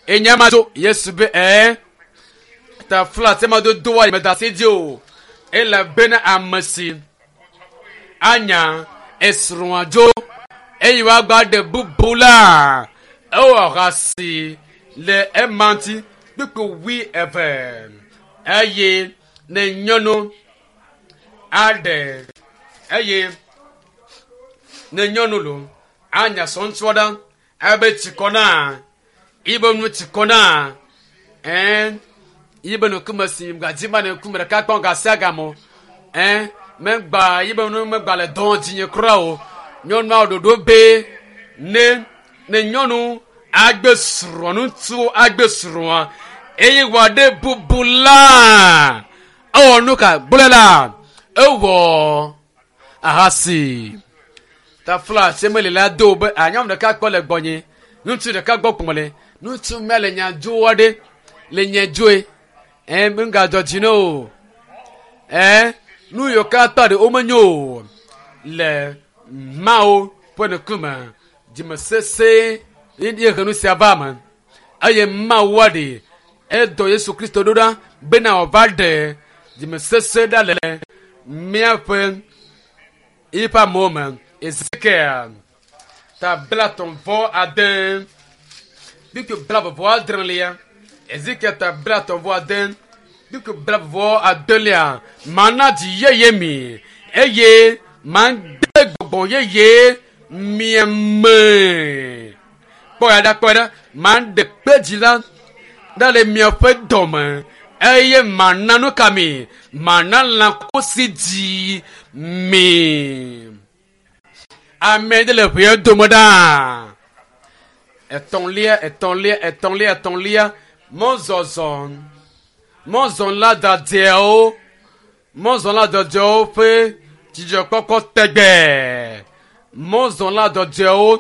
Speaker 1: enya ma dzo Yesu be ɛɛ tafla se ma do doa me da asi dzi o elabena ame si anya esrɔ̃a dzo eye woagba ɖe bubu la ewɔ ahasi le ema ŋuti kpukpu wui eve eye ne nyɔnu aɖe eye ne nyɔnu lo anya sɔŋtsua ɖa ebe tsikɔ na ibe nu tsikɔ na ɛn yibe nukume si gadzi ma ne ŋkume ɖeka kpɔm gasia gamɔ ɛn megba yibe nu megba le dɔn dzinye kura o nyɔnua ɖoɖo be ne ne nyɔnu agbe srɔ̃ ŋutsu agbe srɔ̃a eye wòaɖe bubu la ewɔ nu ka gblɔe la ewɔ ahasi tafla semeli la do be anyɔnu ɖeka kpɔ le gbɔnye ŋutsu ɖeka gbɔ kpɔm le ŋutsu mele nya dzo aɖe le nye dzoe ɛ ŋgadzɔ dzi ne o ɛ nu yiwo katã ɖe womenyo o le Mawu ƒe ŋkume dzimesese ye he nu sia va me eye Mawu aɖe edɔ Yesu Kristo ɖo ɖa bena wòava ɖe dzimesese ɖa le míaƒe eƒe amewo me. Ezekiel ta blatɔ̃ vɔ ade kpukpui blaeve vɔ adrelia Ezekiel ta blatɔ̃ vɔ ade kpukpui blaeve vɔ adelia mana dzi yeye mi eye made gbɔgbɔ yeye mia me. Kpɔ ya ɖa kpɔ ya ɖa maɖe kpe dzi la ɖa le miaƒe dɔme eye mana nu ka mi mana lãkusi dzi mi. Ame ɖe le ʋea dome ɖaa. Etɔ̃lia etɔ̃lia etɔ̃lia etɔ̃lia mɔzɔzɔ mɔzɔla dzadzɛwo mɔzɔla dzadzɛwo ƒe dzidzɔkpɔkpɔ tegbe mɔzɔla dzadzɛwo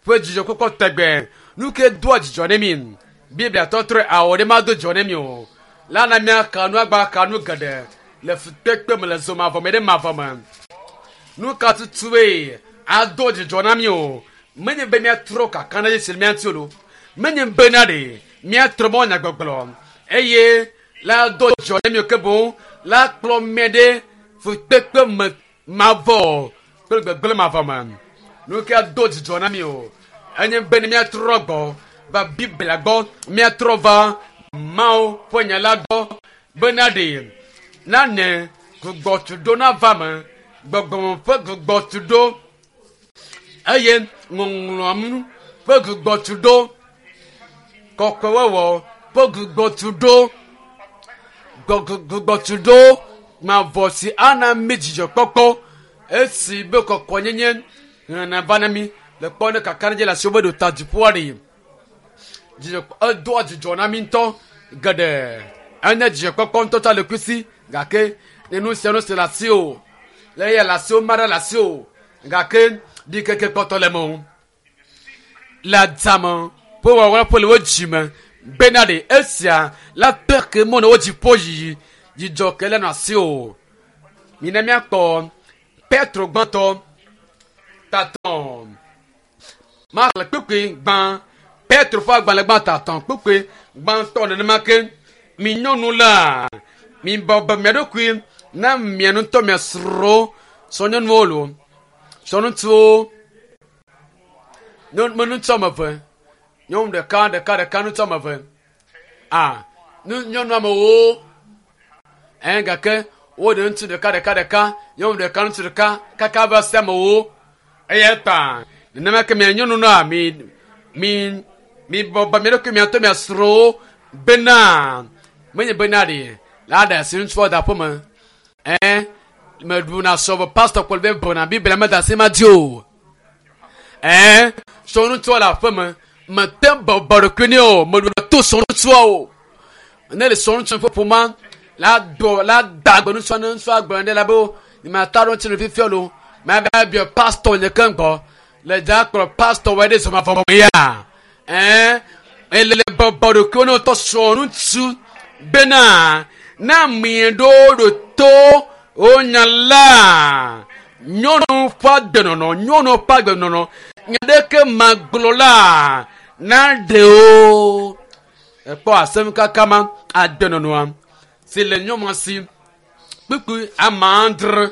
Speaker 1: ƒe dzidzɔkpɔkpɔ tegbe nu ke doa dzidzɔ ne mi Biblia tɔtrɔe awɔ ɖe mado dzidzɔ ne mi o la na míaka nu agba ka nu geɖe le fukpekpe me le zomavɔ me ɖe mavɔ me nu ka tutue ado dzidzɔ na mi o menye be míatrɔ kaka na Yesu le mía ŋuti o lo menye bena ɖe míatrɔ mɔ nyagbɔgblɔ eye la do dzidzɔ ne mi o ke boŋ la kplɔ mí ɖe fukpekpe me mavɔ kple gbegblẽ mavɔ me nu ke ado dzidzɔ na mi o enye be ne míatrɔ gbɔ va Biblia gbɔ míatrɔ va Mawu ƒe nya la gbɔ bena ɖe nane gbugbɔtuɖo nava me gbɔgbɔme ƒe gbugbɔtuɖo eye ŋɔŋlɔa ƒe gbugbɔtuɖo kɔkɔewɔwɔ ƒe gbugbɔtuɖo gbugbɔtuɖo mavɔ si ana mí dzidzɔkpɔkpɔ esi be kɔkɔnyenye hena va na mí le kpɔ ne kakaɖedzi le asiwo be ɖo ta dziƒoa ɖi dzidzɔ edoa dzidzɔ na mí ŋutɔ geɖe enye dzidzɔkpɔkpɔ ŋutɔ tsa le kusi gake ne nu sia nu si le asi o le eya le asi o ma ɖe le asi o gake ɖikeke kpɔtɔ le me o le adzame ƒe wɔwɔ ƒe le wo dzi me bena ɖe esia la te ke mɔ ne wo dziƒo yiyi dzidzɔ ke le nɔ asi o mina míakpɔ Petro gbãtɔ tatɔ maxlẽ kpukpui gbã Petro ƒe agbalẽ gbã tatɔ kpukpui gbãtɔ nenema ke mi nyɔnu la mi bɔbɔ mia ɖokui na mia ŋutɔ mia srɔ̃wo srɔ̃nyɔnuwo lo srɔ̃ŋutsuwo nyɔnu ŋutsu ame eve nyɔnu ɖeka ɖeka ɖeka ŋutsu ame eve a nyɔnu amewo ɛ gake woɖe ŋutsu ɖeka ɖeka ɖeka nyɔnu ɖeka ŋutsu ɖeka kaka va se amewo eya ta nenema ke mia nyɔnu na mi mi mi bɔbɔ mia ɖokui mia ŋutɔ mia srɔ̃wo bena menye bena ɖe la ɖe asi ŋutsua da ƒe me ɛ meɖuna sɔ be pastor kpɔ be bɔna biblia me da asi ma dzi o ɛ srɔ̃ŋutsua le aƒe me mete bɔbɔ ɖokui nɛ o meɖuna to srɔ̃ŋutsua o ne le srɔ̃ŋutsu ƒe ƒoma la dɔ la da gbe ŋutsua ne ŋutsua gblɔ ɖe la be ma ta ɖo ŋuti le fifia lo ma va biɔ pastor nye ke ŋgɔ le dza kplɔ pastor wɔ ɖe zɔma vɔ ya ɛ ele bɔbɔ ɖokui ne wotɔ srɔ̃ŋutsu bena na mie ɖo ɖo to wonya la nyɔnu ƒe agbenɔnɔ nyɔnu ƒe agbenɔnɔ nya ɖeke magblɔ la na ɖe o ekpɔ asem kaka ma agbenɔnɔa si le nyɔnua si kpukpui ame adre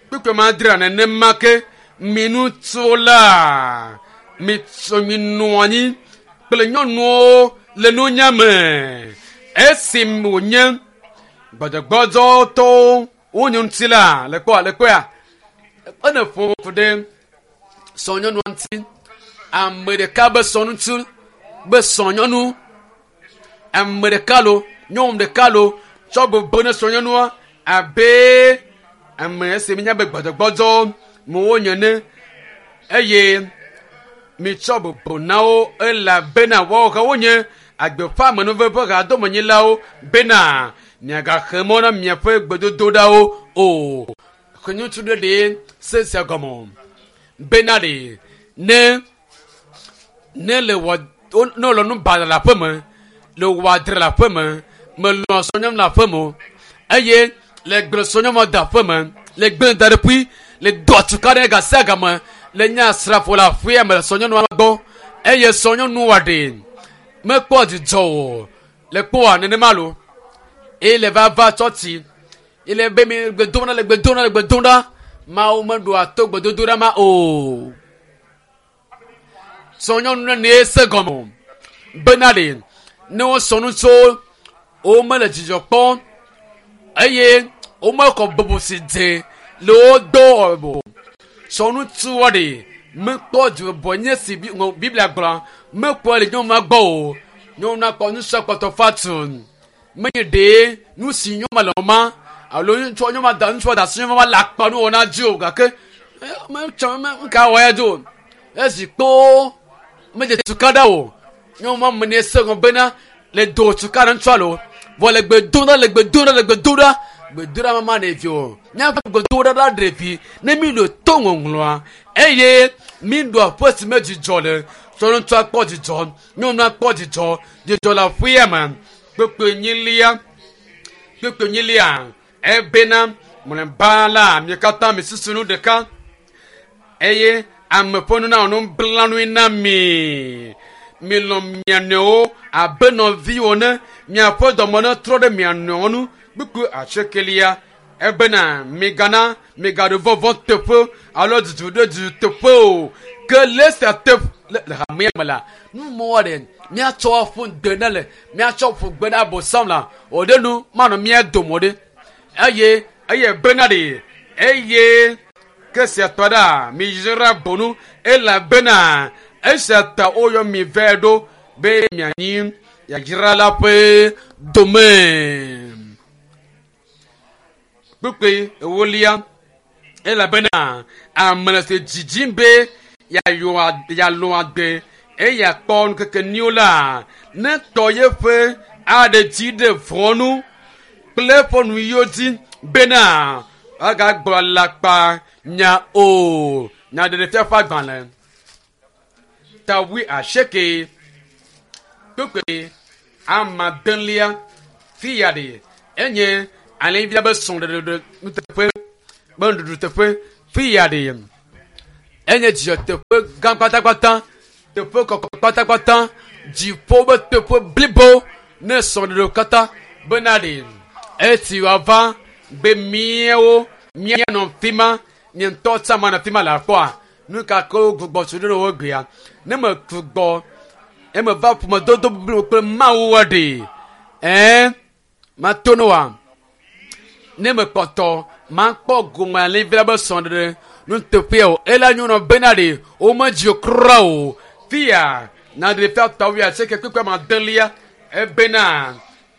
Speaker 1: kpukpui ame adre nenema ke minutsu la mitso minɔ anyi kple nyɔnuwo le nunya me esi wònye gbɔdzɔgbɔdzɔtɔwo wonye ŋuti la le kpɔa le kpɔa ene ƒo ku ɖe sɔnyɔnua ŋuti ame ɖeka be sɔŋutsu be sɔnyɔnu ame ɖeka lo nyɔnu ɖeka lo tsɔ gbogbo ne sɔnyɔnua abe ame esi mi nya be gbɔdzɔgbɔdzɔ me wonye ne eye mitsɔ bubu na wo elabena woawo hã wonye agbe ƒe amenuveve ƒe hadomenyilawo bena miagaxe mɔ na miaƒe gbedodoɖawo o. Ŋutsu ɖe ɖe se sia gɔme bena ɖe ne ne le wɔ ne wòle nu baɖa le aƒe me le wɔ adre le aƒe me melɔ̃ srɔ̃nyɔnu le aƒe me o eye le gblẽ srɔ̃nyɔnu de aƒe me le gblẽ da ɖe ƒui le do atuka ɖe ga sia game le nye asrafo le aƒea me le srɔ̃nyɔnua gbɔ eye srɔ̃nyɔnua ɖe mekpɔ dzidzɔ o le kpɔa nenema lo eye le va va tsɔtsi ele be mi gbe dom ɖa le gbe dom ɖa le gbe dom ɖa mawu meɖoa to gbedodoɖa ma o srɔ̃nyɔnu ne ne se gɔme o bena ɖe ne wosɔ nu tso womele dzidzɔ kpɔm eye womekɔ bubu si dze le wo do o srɔ̃ŋutsuwo ɖe mekpɔ dzibɔ nye si Biblia gblɔ mekpɔ le nyɔnua gbɔ o nyɔnua kpɔ ŋutsua kpɔtɔ fatu menye ɖe nu si nyɔnua le ma alo ŋutsua nyɔnua da ŋutsua da asi nyɔnua le akpa nu wɔna dzi o gake metsɔ me ka wɔ ya dzi o esi kpoo medze tukaɖa o nyɔnua me ne se gɔme bena le do tukaɖa ŋutsua lo vɔ le gbe dom ɖa le gbe dom ɖa le gbe dom ɖa gbedoɖa ma ma ɖevi o míaƒe gbedoɖa la ɖevi ne mi ɖo to ŋɔŋlɔa eye mi ɖo aƒe si me dzidzɔ le srɔ̃ŋutsua kpɔ dzidzɔ nyɔnua kpɔ dzidzɔ dzidzɔ le aƒea me kpekpe nyilia kpekpe nyilia ebena mlɔeba la mi katã mi susu nu ɖeka eye ame ƒe nu na nublanui na mi milɔ̃ mia nɔewo abe nɔviwo ne miaƒe dɔme ne trɔ ɖe mia nɔewo ŋu kpukpu atsekelia ebena migana migaɖo vɔvɔ teƒe alo dudu ɖe dudu teƒe o ke le esia teƒe le hamea me la numɔwɔ ɖe míatsɔ aƒu gbe ne le míatsɔ ƒu gbe na abosam la o ɖe nu manɔ mía dome o ɖe eye eye bena ɖe eye ke sia tɔ ɖa miyra bonu elabena esia ta woyɔ mi vɛ ɖo be mianyi yayra la ƒe dome kpukpui ewolia elabena ame le se dzidzim be yeayɔ yealɔ agbe eye yeakpɔ nukeke nyuiwo la ne tɔ yeƒe aɖe dzi ɖe vɔ nu kple eƒe nuyiwo dzi bena agagblɔ alakpa nya o nyaɖeɖefia ƒe agbalẽ ta wui asieke kpukpui amadelia fi ya ɖe enye alẽvia be srɔ̃ɖeɖe nuteƒe be nuɖuɖu teƒe. Fi ya ɖe enye dzidzɔ teƒe gã kpatakpata, teƒe kɔkɔ kpatakpata, dziƒo be teƒe blibo ne srɔ̃ɖeɖewo katã bena ɖe esi wòava be míawo míanɔ fi ma, nye ŋutɔ tsã manɔ fi ma le akpɔa, nu ka ke wogbugbɔ tso ɖe wo gbea? Ne megbugbɔ eme va ƒomedodo blibo kple Mawu ɖe, ɛɛ, mato ne wa. Ne mekpɔtɔ makpɔ gome alẽvi la be srɔ̃ɖeɖe nuteƒea o, ela nyɔnua bena ɖe womedzi o kura o. Fia naɖe fia tɔ wuiasieke kpekpe ma adelia ebena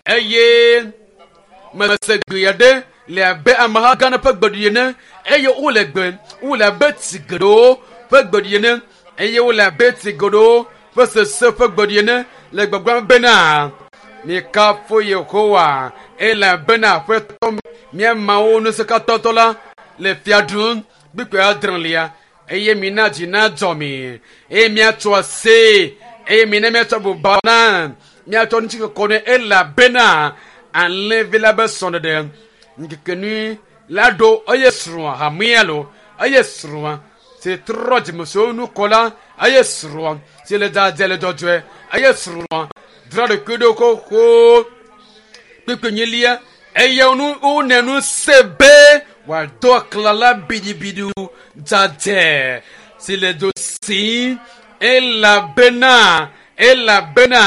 Speaker 1: eye mese gbe aɖe le abe ameha gã aɖe ƒe gbeɖiɖi ene eye wole gbe wole abe tsi geɖewo ƒe gbeɖiɖi ene eye wole abe tsi geɖewo ƒe sese ƒe gbeɖiɖi ene le gbɔgblɔm bena mikafu Yehowa elabena Aƒetɔ mía Mawu ŋusẽkatãtɔ la le fia ɖum kpukpui adrelia eye mina dzi nadzɔ mi eye míatso aseye eye mina míatsɔ buba na míatsɔ ŋutikɔkɔ nɛ elabena alẽvi la be srɔ̃ɖeɖe ŋkekenyui la ɖo eye srɔ̃a hamea lo eye srɔ̃a si trɔ dzimesuwo nu kɔ la eye srɔ̃a si le dzadzɛ le dzɔdzɔe eye srɔ̃a dzra ɖokui ɖo xoxo kpukpui enyilia eye nu wone nu se be wòado aklala biɖibiɖi dzadzɛ si le dzo si elabena elabena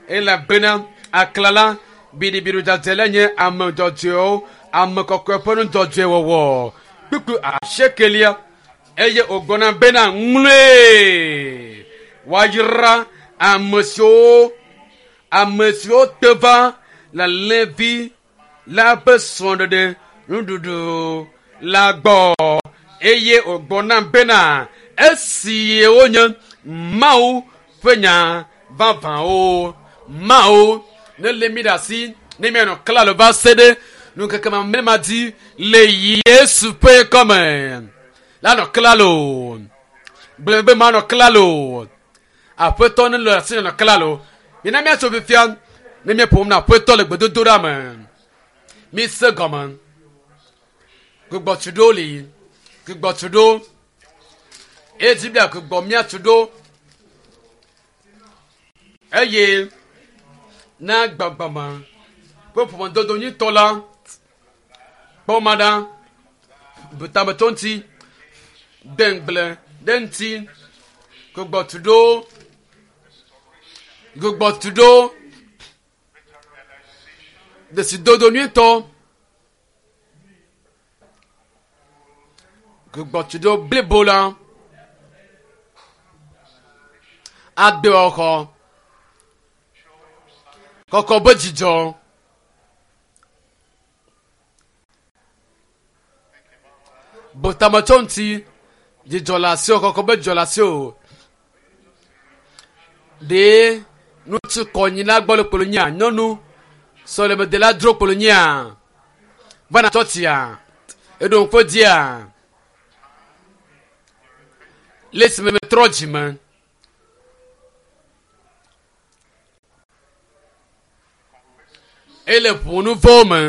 Speaker 1: elabena aklala biɖibiɖi dzadzɛ la nye ame dzɔdzɔewo ame kɔkɔe ƒe nu dzɔdzɔe wɔwɔ kpukpui asiekelia eye wògblɔna bena ŋlɔe woayra ame siwo ame siwo te va le alẽvi la ƒe srɔ̃ɖeɖe nuɖuɖu la gbɔ eye wògblɔ nam bena esi wonye Mawu ƒe nya vavãwo Mawu nelé mí ɖe asi ne míanɔ klalo va se ɖe ŋkeke mamlɛ ma dzi le Yesu ƒe kɔme la nɔ klalo gblẽ be manɔ klalo Aƒetɔ nelé asi nɔ klalo mina míatso fifia ne míeƒom na Aƒetɔ le gbedodoɖa me mise gɔme gbugbɔtuɖo li gbugbɔtuɖo eye Biblia gbugbɔ míatu ɖo eye na gbɔgbɔme ƒe ƒomedodo nyuitɔ la kpɔ ma ɖa bu tame tso ŋuti de ŋugble ɖe ŋuti gbugbɔtuɖo gbugbɔtuɖo dzesidodo nyuitɔ gbugbɔtuɖo blibo la agbewɔxɔ kɔkɔ be dzidzɔ bu tame tso ŋuti dzidzɔ le asiwò kɔkɔ be dzidzɔ le asiwò ɖe ŋutsu kɔnyila gbɔ le kpolo nyia nyɔnu sɔlemedela dzro kpolo nyia vana tsɔtsia eɖo ŋku dzia le esime metrɔ dzime ele ʋu nu vɔ̃wo me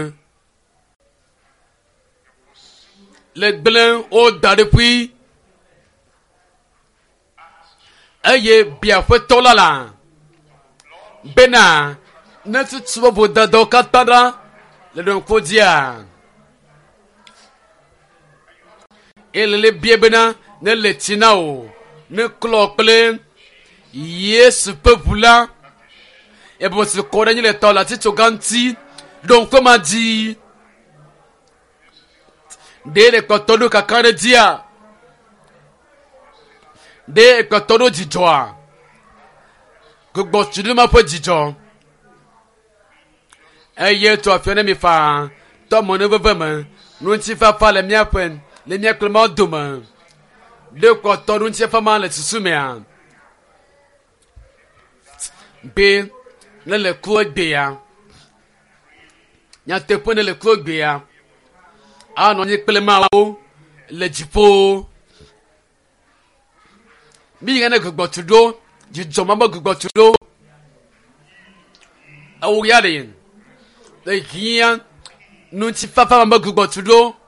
Speaker 1: le gblẽ wo da ɖe ƒui eye bia aƒetɔ la la bena ne tutu be vodadawo katã ɖa le ɖoŋku dzia ele le bia bena ne le tsi na wò ne klɔ kple Yesu ƒe ʋu la ebe si kɔ ɖe anyi le tɔ le atitsoga ŋuti ɖo ŋku ma dzi ɖe le kpɔtɔ ɖo kaka ɖe dzia ɖe kpɔtɔ ɖo dzidzɔa gbogbo tsi ɖe ma ƒe dzidzɔ eye tɔ afia ne mi faa tɔ mɔ ne veve me ŋutifafa le míaƒe le mía kple Mawu dome ɖe kpɔtɔ ɖo ŋutifafa ma le susu mea be ne le ku egbea nyateƒe ne le ku egbea anɔ anyi kple Mawu le dziƒo mi yi ne gbugbɔ tu ɖo dzidzɔ ma be gbugbɔ tu ɖo ewo ya ɖe le hiã ŋutifafa ma be gbugbɔ tu ɖo.